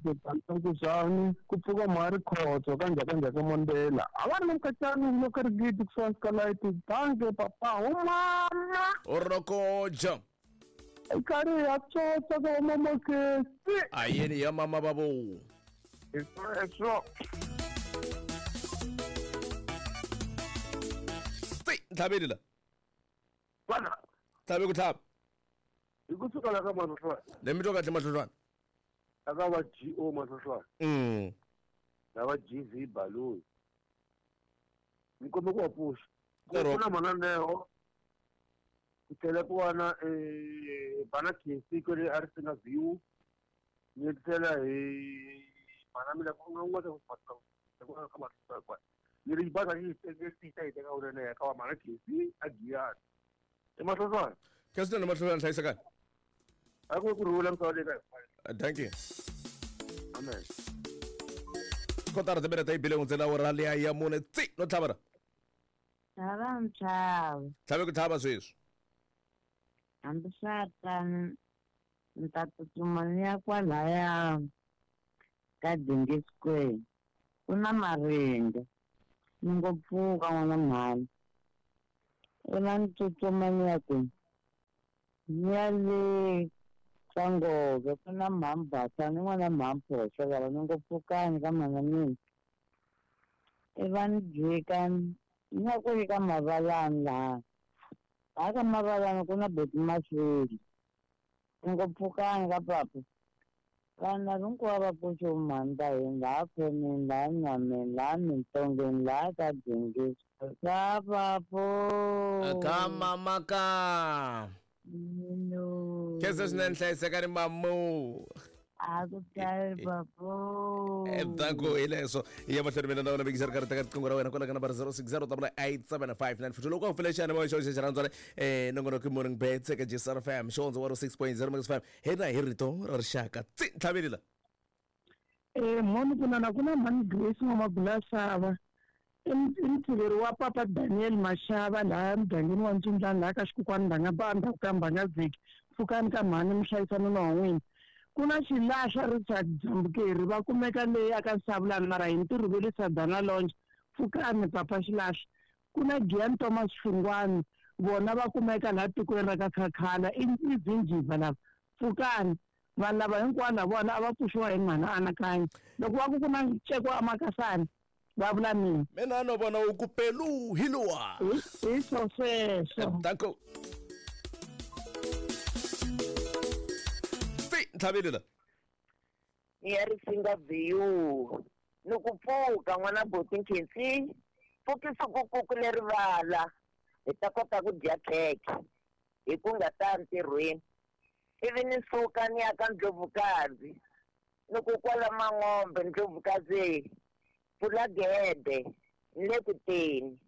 Nkuzani, ku pfuka Mari Khotso ka Njhakanjhaka Mondela. A va ri na mukacani loko ri gidi kusuhani ka light bangi papa ho mama. Orokoja. Karhi ya tsotsa ka Mama Khesi. A yeni ya mama babo. Hi sweswo. Tsi ntlhaveli la. Bana. Tlhave ku tlhava. Hi kusuka la ka Mahlohlwana. Le mi twa kahle Mahlohlwana? Aka va GO Mahlohlwana. Na va GV Baloyi. Ni kombe ku va pfuxa. Ku na mananeo. Ku tlhela ku va na Bana Khesi kwale a Risinga View. Ni tlhela hi Mana mina ku nga n'wana ku ka ma kwa. Ni ri ba yi teka yi teka u ka wa mana Khesi a Giyani. I mahloswana. Khesi na mahloswana hlayisekani. A ku rhula misava leyi ka. Thank you. Amen. Kotara timinete yi bile hundzela awara liya ya 4 tsi no tlhavara. Tlhava ntlhava. Tlhave ku tlhava sweswi. Hambi swa tano ni ta tsutsuma ni ya kwalaya ka Dingi Square. Ku na maringa. Ni ngo pfuka n'wana mhani. I va ni tsutsuma ni ya kwini? Ni ya le ka Ngove ku na mhani ni n'wana mhani Phosa lava ni ngo pfukani ka mhana mina. I va ni jika ni ya kwele ka Mavalani laha. Laha ka Mavalani ku na Boti Masweli. Ni ngo pfukani ka papa. Vana hinkwavo va pfuxe mhani ta hina laha khoneni, laha nyameni, laha mintongeni, laha ka Dingi Square. Ka papo. Ka mama ka. No. Khesa swinene hlayisekani mamu. A ku tlhari papo. Danko hi leswo ya mahlweni mina na wena vekisa ri karhi teka riqingho ra wena kwala ka nambara 060 875 loko u pfule xiyanimoya xo xa xirhandzwana nongonoko Morning Bets eka JSR FM xihondzo wa 6.0 Max 5 hina hi rito ra rixaka tsi ntlhaveli la. Mhani kunana ku na mhani Grace N'wamabula-Xava i mutshiveri wa papa Daniel Mashava laha mugangeni wa Ntsundlani laha ka xikokwani ndhanga ba ndzhaku ka Mbangazeki pfukani ka mhani mi hlayisa nuna wa n'wina. Ku na xilahla Richard Jambukeri va kumeka leyi aka Sabulani mara hi ntirho ve le Sadana Lounge pfukani papa xilahla. Ku na Gian Thomas Xingwani vona va kumeka laha tikweni ra ka Khakhala i Zinjiva lava pfukani. Vanhu lava hinkwavo na vona a va pfuxiwa hi mhani anakanya loko va ku ku na nceko a Makasani va vula mina. Mina no vona u ku pelu hi luwa. Hi swo sweswo. Danko. Tsi ntlhaveli la. Ni ya Risinga View. Ni ku pfuka n'wana Boti Nkhensi. Pfukisa ku ku le rivala. Hi ta kota ku dya khekhe. Hi ku nga ta ntirhweni. Ivi ni suka ni ya ka Ndlovukazi. Ni ku kwala Mang'ombe Ndlovukazi. Pfula gede ni le ku teni.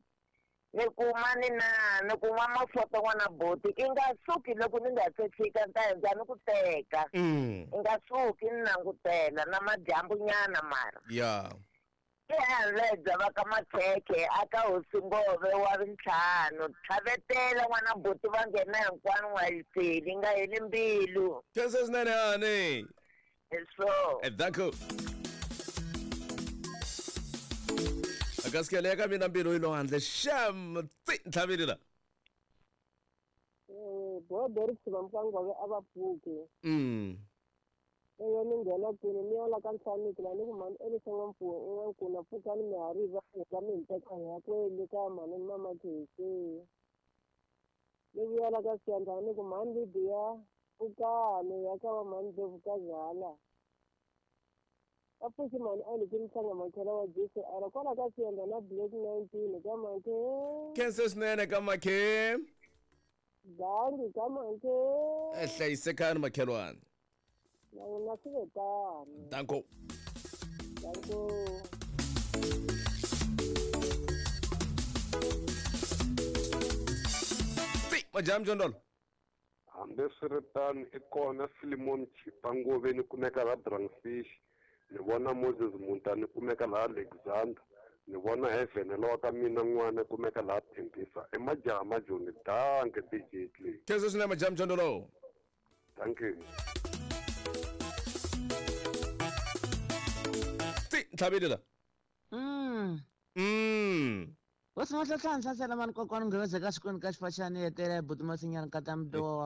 Ni kuma ni na ni kuma mafoto n'wana Boti i nga suki loko ni nga se fika ni ta hundza ni ku teka. I nga suki ni langutela na madyambu nyana mara. Ya. Ehandle va ka Makhekhe aka Hosi Ngove wa ntlhanu tlhavetela n'wana Boti va nghena hinkwano n'wayiseli nga heli mbilu. Khesa swinene hani. So. Danko. Akasikele ka mina mbilu yi lo handle sham tsi ntlhaveli la. Bo Derek Sibamkangove a va pfuki. Eyo ni nghena kwini ni ya la ka Nhlaniki la ni ku mhani Elisa N'wampfuwe i n'wankuna pfukani mi ha ri va heta mi hi teka hi ya kwele ka mhani Mama Khesi. Ni vuya la ka Siyandhani ni ku mhani Lydia pfukani ya ka va mhani Ndlovukazi hala. Va pfuxi mhani Aniki Mhlanga Makhela wa JCR kwala ka Siyandhani na Black 19 ka Makhe. Khesa swinene ka Makhe. Dangi ka Makhe. Hlayisekani makhelwani. Na wena swi ve tano. Danko. Danko. Tsi majam jondolo. Hambiswiritano i kona Philemon Chipa Ngove ni kumeka laha Drangfish. Ni vona Moses Muntani kumeka laha Alexander. Ni vona Heaven lowa ka mina n'wana kumeka laha Thembisa. I majaha majoni danke DJ Clay. Khesa swinene majam jondolo. Thank you. Tsi ntlhaveli la. What's not a chance? I said, I'm going to go to Gascon Cashfashani at the Butumasian Katam Do.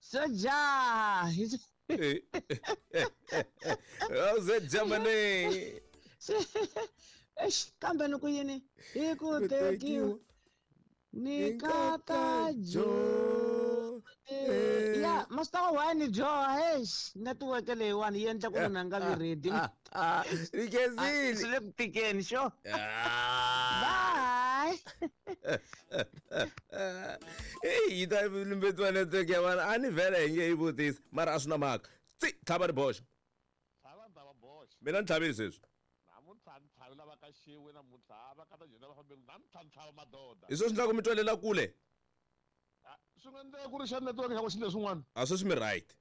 So, ja. How's Germany? Kambe no kuyini. Iku take you. Nikata jo. Ya, masta wani jo, hey, network leyi wani yi endla ku munhu a nga vi ready. Rikezini. Swi le ku tikeni, sure. Bye. Hey, yi ta lumbetiwa network ya vana a ni vhele hi nge yi vutisi mara a swi na mhaka. Tsi, tlhava ri boxa. Mina ni tlhavile sweswi. Namuntlha ni tlhavi lava ka xiwe namuntlha va ka ta jena va fambe namuntlha ni tlhava madoda. Hi sweswi ndlaku mi twelela kule. Swi nga endleka ku ri xa network xa ku xi leswin'wana. A sweswi mi right.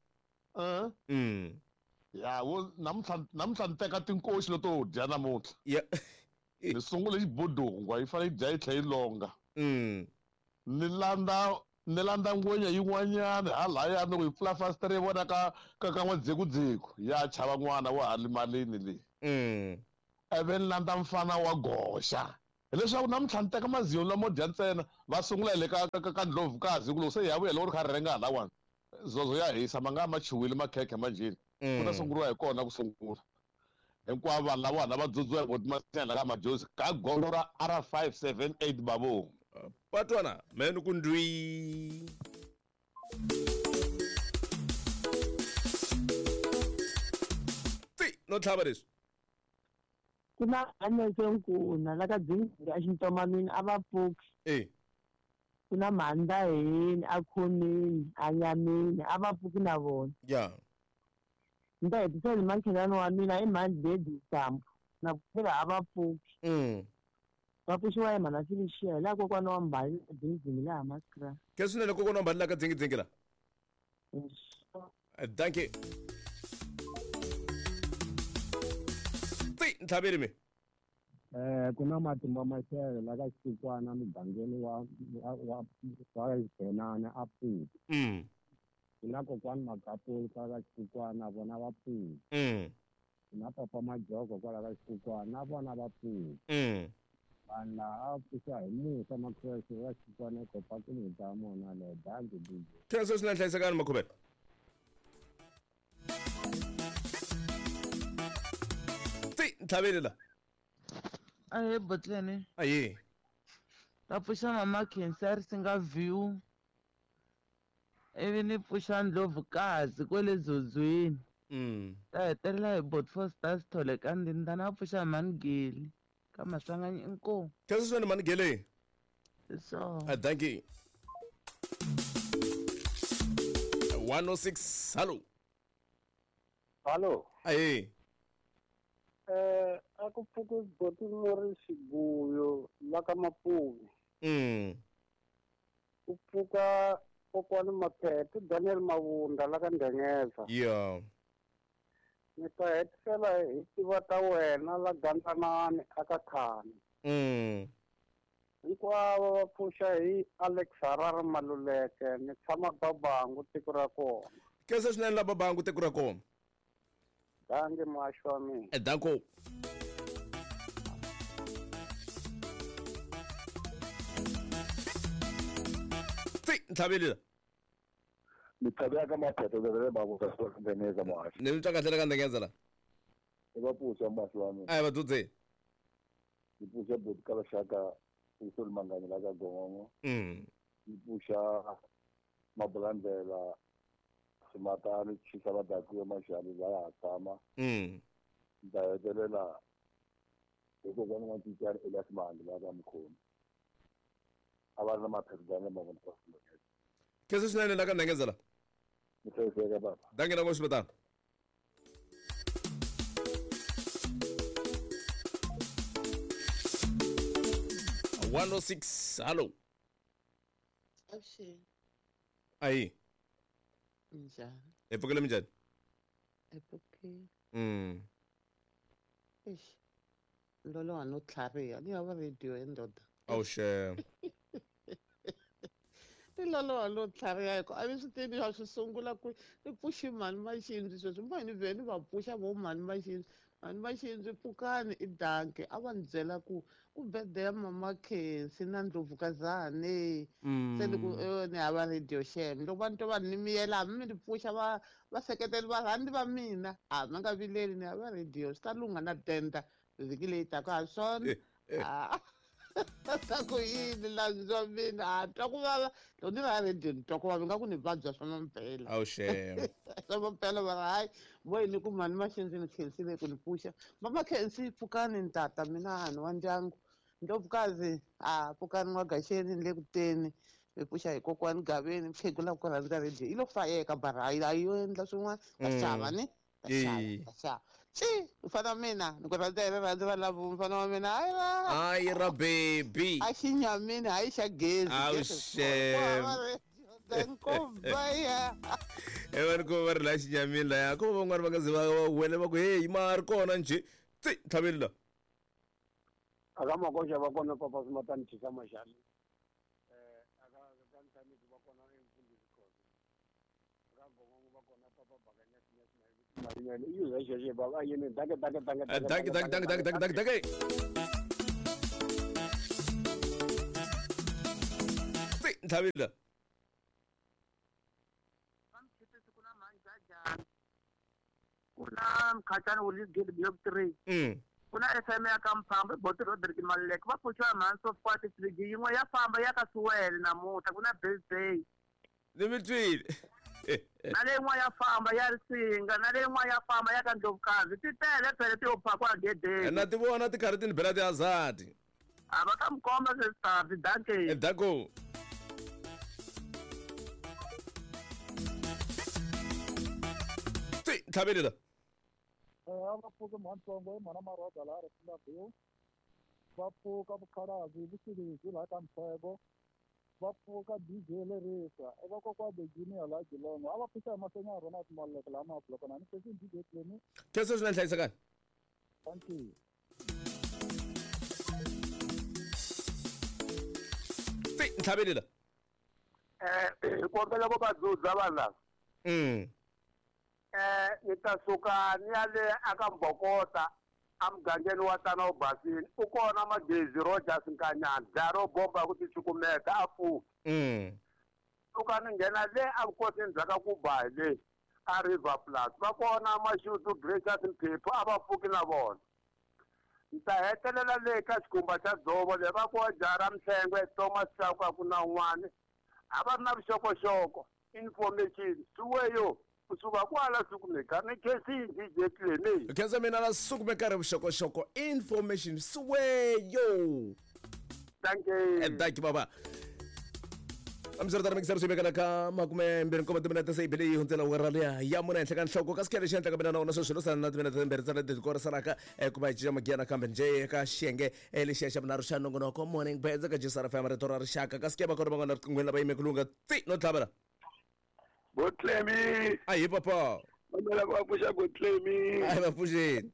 Ya wo namuntlha ni teka tinkoxi leto dya namuntlha. Ya. Ni sungule xibudungwa yi fanele yi dya yi tlhela yi longa. Ni landza ngwenya yin'wanyana halaya loko yi pfula fasitere yi vona ka n'wadzekudzeku ya chava n'wana wa ha limalini leyi. Ivi ni landza mfana wa goxa. Hileswaku namuntlha ni teka mazinyo lamo dya ntsena va sungula hi le ka ndlovukazi ku loko se ya vuya loko ri kha ri rhenga halawani zozo ya hisa ma nga ma chuwile makhekhe manjheni. Ku ta sunguriwa hi kona ku sungula. Hinkwavo vanhu lavana va dzudziwa hi voti ka majozi ka gondzo ra R578 babo. Patwana meni ku ndwi. Ti no tlhava leswi. Ku na anesenkuna la ka dzingi a xintomanini a va pfuki. Ku na mhanda hini a khomini a nyamini a va pfuki na vona. Ya. Ni ta hetisela hi makhelwani wa mina i mhani Dedi Sambu na pfukela a va pfuki. Va pfuxiwa hi mhana Felicia hi laha kokwana wa Mbali dzingizingi laha Maskra. Ke swinene kokwana wa Mbali laha ka dzingizingi la. Thank you. Ti ntlhaveli mi. Ku na matimba maxele la ka xikwana mugangeni wa Xibhenana a pfuki. Ku na kokwani Makapuli kwala ka xikwana vona va pfuki. Ku na papa Majoko kwala ka xikwana na vona va pfuki. Vanhu laha a pfuxa hi musa makhwese wa xikwana kopa ku muta mona le dangi DJ. Khensa swinene hlayisekani Makhuvela. Ti ntlhaveli la. Ahe botlene. Aye. Ta pfuxa mama Khensa ri singa view. Ivi ni pfuxa ndlovukazi kwele Zodzweni. Ta hetelela hi bot for stars thole ka ndini na pfuxa Manigeli. Ka Maswanganyi inkomu. Khensa swinene Manigeli. So. Thank you. 106 hello. Hello. Aye. A ku pfuki boti muri xiguyo la ka Mapuvi. Ku pfuka kokwani Maphethe Daniel Mavunda la ka Ndengeza. Yeah. Ni ta hetisela hi tiva ta wena la Gandzanani aka Khani. Hinkwavo va pfuxa hi Alex Harare Maluleke ni tshama Babangu tiko ra kona. Khensa swinene la Babangu tiko ra kona. Dangi muhaxi wa mina. Danko. Ti ntlhaveli la. Ni tlhavela ka Maphethe le Babangu ka Ndengeza muhaxi. Ni twa kahle ka Ndengeza la. I va pfuxa muhaxi wa mina. A va dzudze. Ni pfuxa boti ka Vaxaka Usoli Mangani la ka Gongongo. Ni pfuxa Mabulandlela Simatani Chisa Vadakiwe Maxali la ya tshama. Ni ta hetelela hi kokwana wa Ncincana Elias Mali la ka Mukhomi. A va ri na Maphethe Daniel Mavunda ka Ndengeza. Khensa swinene la ka Ndengeza la. Ni hlayiseka baba. Dangi na n'waxibatana. 106 hello. Avuxeni. Ayi. Njhani? Hi pfukile minjhani? Hi pfukile. Eish. Loloha no tlhariha ni hava radio ya ndoda. Awuxe. Ni loloha no tlhariha hi ku a mi swi tivi swa swi sungula ku ni pfuxi mhani Maxindzi sweswi mhani ni vhe ni va pfuxa vo mhani Maxindzi. Mhani Maxindzi pfukani i danke a va ni byela ku ku birthday ya mama Khensi na Ndlovukazane. Se ni ku ni hava radio xem loko va ni twa va ni miyela hambi mi ni pfuxa va vaseketeli varhandzi va mina a mi nga vileli ni hava radio swi ta lungha na denda vhiki leyi taka ha swona. Ta ku yini landzwa mina a twa ku vava loko ni va radio ni twa ku vava ingaku ni vabya swa mampela. Awuxe. Swa mampela va ri hayi vo yini ku mhani Maxindzi ni khensile ku ni pfuxa. Mama Khensi pfukani ni tata mina ni wa ndyangu. Ndlovukazi a pfukani n'wagaxeni ni le ku teni mi pfuxa hi kokwani Gaveni mukhegula ku rhandza radio yi lo fayeka bara a yo endla swin'wana ta xava ni ta xava ta xava. Xi mfana wa mina ni ku rhandza hi rirhandzu va lavo mfana wa mina hayi ra Hayi ra baby. A xi nyamini hayi xa gezi. Awu Gezi xem. ya. E va ni ko va ri laha xinyamini laya ko van'wani va nga ze va wele va ku heyi ma ri kona njhe tsi tlhaveli la. Aka makoxa va kona papa Simatani Chisa Maxali. Aka ka Ntlhaniki va kona emfundhisi Khoza. Aka Gongongo va kona papa Bakanya Sinyasi Mayinyane. I yuza xexo baba a yini danke danke danke Danke danke danke danke danke danke danke. Tsi ntlhaveli la. Ku na Mkhatshani wu Gate Block 3. Ku na FM ya ka Mphamba Boti Roderick Maluleke va pfuxiwa mhani so far tifriji yin'we ya famba ya ka Suwele namuntlha ku na birthday. Ni mi twile. Na leyi yin'wana ya famba ya Risinga na leyi yin'wana ya famba ya ka Ndlovukazi ti tele phele ti yo phakwa gedeni. Na ti vona ti karhi ti ni bela tihazadi. A va ta mi komba sweswi danke. Danko. Tsi ntlhaveli la. A va pfuki mhantsongo i mhana Maroda laha Risinga View. Va pfuka Vukhalavi Vuxilisi laha ka Mtshego. Va pfuka DJ Lerisa i vakokwa The Junior laha Geelong. A va pfuxa hi mahlweni ya Ronald Maluleke laha Mabuloko na ni sweswi DJ Clemi. Khensa swinene hlayisekani. Thank you. Tsi ntlhaveli la. Hi kombela ku va dzudza vanhu lava. Ni ta suka ni ya le aka Mbokota emugangeni wa Tana wu Basini u kona Magezi Rogers Nkanyana dlaya ro bomba ku ticukumeta a pfuki. Suka ni nghena le evukosini bya ka Kubayi le a River Plus va kona Mashudu Gracious Mphephu a va pfuki na vona. Ni ta hetelela le ka xikhumba xa dzovo le va ko jara Mhlengwe Thomas Chauke ku na un'wana a va ri na vuxokoxoko information suweyo kusuka kwala sukumeka ni khensini DJ Clemi. Khensa mina la sukumeka ri vuxokoxoko information suweyo. Thank you. Thank you baba. Amseri mixer swi vekela ka 27 timinete se yi bile yi hundzela awara liya ya mune henhla ka nhloko kasi khele xi endlaka mina na wona sweswi lo sala na timinete timbirhi ntsena leti korisanaka ku va hi cinca magiya nakambe njhe eka xiyenge lexiya xa vunharhu xa nongonoko Morning Beds eka JSR FM rito ra rixaka kasi ke va kona van'wana riqinghweni lava yime ku lunga tsi no tlhavela. Botlemi. Ahi papa. Mamela va pfuxa Botlemi. Ahi va pfuxeni.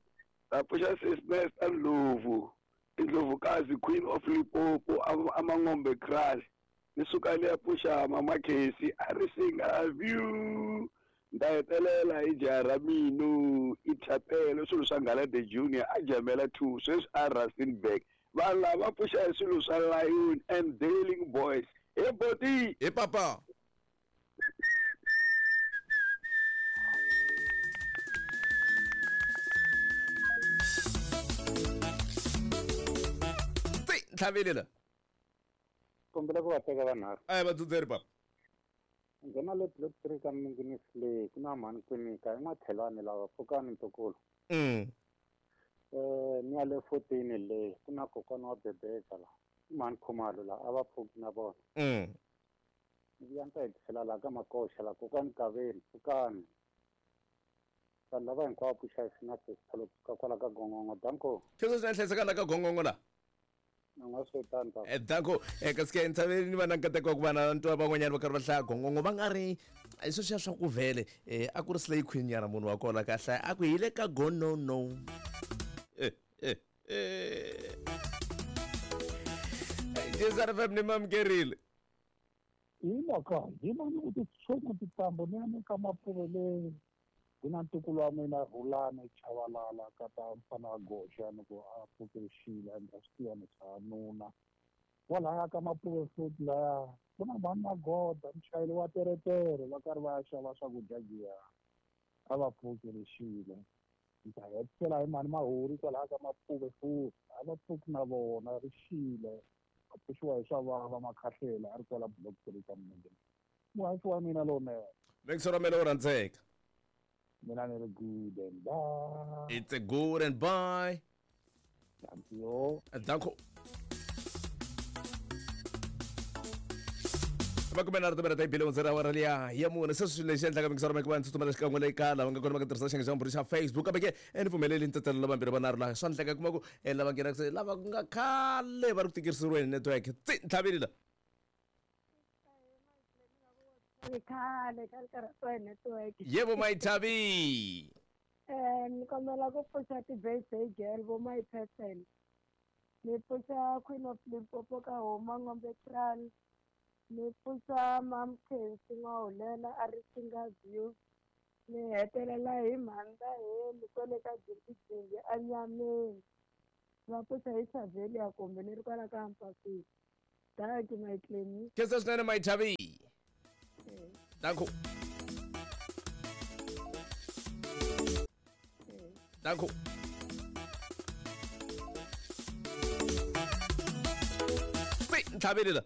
Va pfuxa Sis Nesta Ndlovu. Indlovukazi Queen of Limpopo Amangombe Kraal. Ni suka le ya pfuxa Mama Casey a Risinga View. Nda hetelela hi jaha mino i Thapelo swilo swa Ngala the Junior a Jamela 2 sweswi a Rustenburg. Vanhu lava pfuxa hi swilo swa Lion and Darling Boys. He boti. He papa. Ntlhaveli la. Kombela ku va teka vanharhu. A hi va dzudzeri papa. Nghena le block 3 ka Minginisi le ku na mhani Kwinika i N'wathelani lava pfukani ntukulu. Ni ya le 14 le ku na kokwana wa Bebeka la i mhani Khumalo la a va pfuki na vona. Ni vuya ni ta hetisela laha ka Makoxa la kokwani Kaveni pfukani. Vanhu lava hinkwavo pfuxa hi swi na sesithalo kusuka kwala ka Gongongo danko. Khensa swinene hlayisekani la ka Gongongo la. Danko kasi ke ntshaveni ni va na nkateko wa ku va na ntwa van'wanyana va karhi va hlaya Gongongo va nga ri hi sweswiya swa ku vhele a ku ri slay queen nyana munhu wa kona ka hlaya a ku hi le ka Gonono. JSR FM ni mamukerile. Hi mhaka hi vona ku titshomo titambo ni ya ni ka Mapuve le ku na ntukulu wa mina Rhulani Chavalala ka ta mfana wa Goxa ni ku a pfuke xile and a swi tiva ni swa nuna kwalaya ka Mapuve futhi laya ku na mhani Magoda muchayeri wa teretere va karhi va ya xava swakudya giya a va pfukele xile. Ni ta hetisela hi mhani Mahuri kwalaya ka Mapuve futhi a va pfuki na vona ri xile va pfuxiwa hi swa vava Makhahlela a ri kwala block 3 ka Minenge. Muhaxi wa mina lowunene. Mixer wa mina wo rhandzeka. Mina ni ri good and bye. It's a good and bye. Thank you. Danko. Makume nharhu timinete yi bile hundzela awara liya ya mune. Se swilo lexi endlaka mingisoro meke va tsutsumela xikan'we le ka lava nga kona va nga tirhisa xiyenge xa vumbirhi xa Facebook, kambe ke ni pfumeleli ntetelo lavambirhi vanharhu laha swa endleka kuma ku lava nghenaka se lava ku nga khale va ri ku tikiseriweni network tsi ntlhaveli la. Khale ka ri karhatiwa hi network. Yebo, Mayithavi. Ni kombela ku pfuxa ti-birthday girl vo my person. Ni pfuxa Queen of Limpopo ka Homa Ngombe Kral. Ni pfuxa Mam Khensi N'wahulela a ri Singa View. Ni hetelela hi Mhanda Heli kwale ka Jindijindi a Nyameni. Va pfuxa hi Xavelia kumbe ni ri kwala ka Mpapisi. Dankie my Clemi. Khensa swinene, Mayithavi. Danko. Danko. Tsi ntlhaveli la.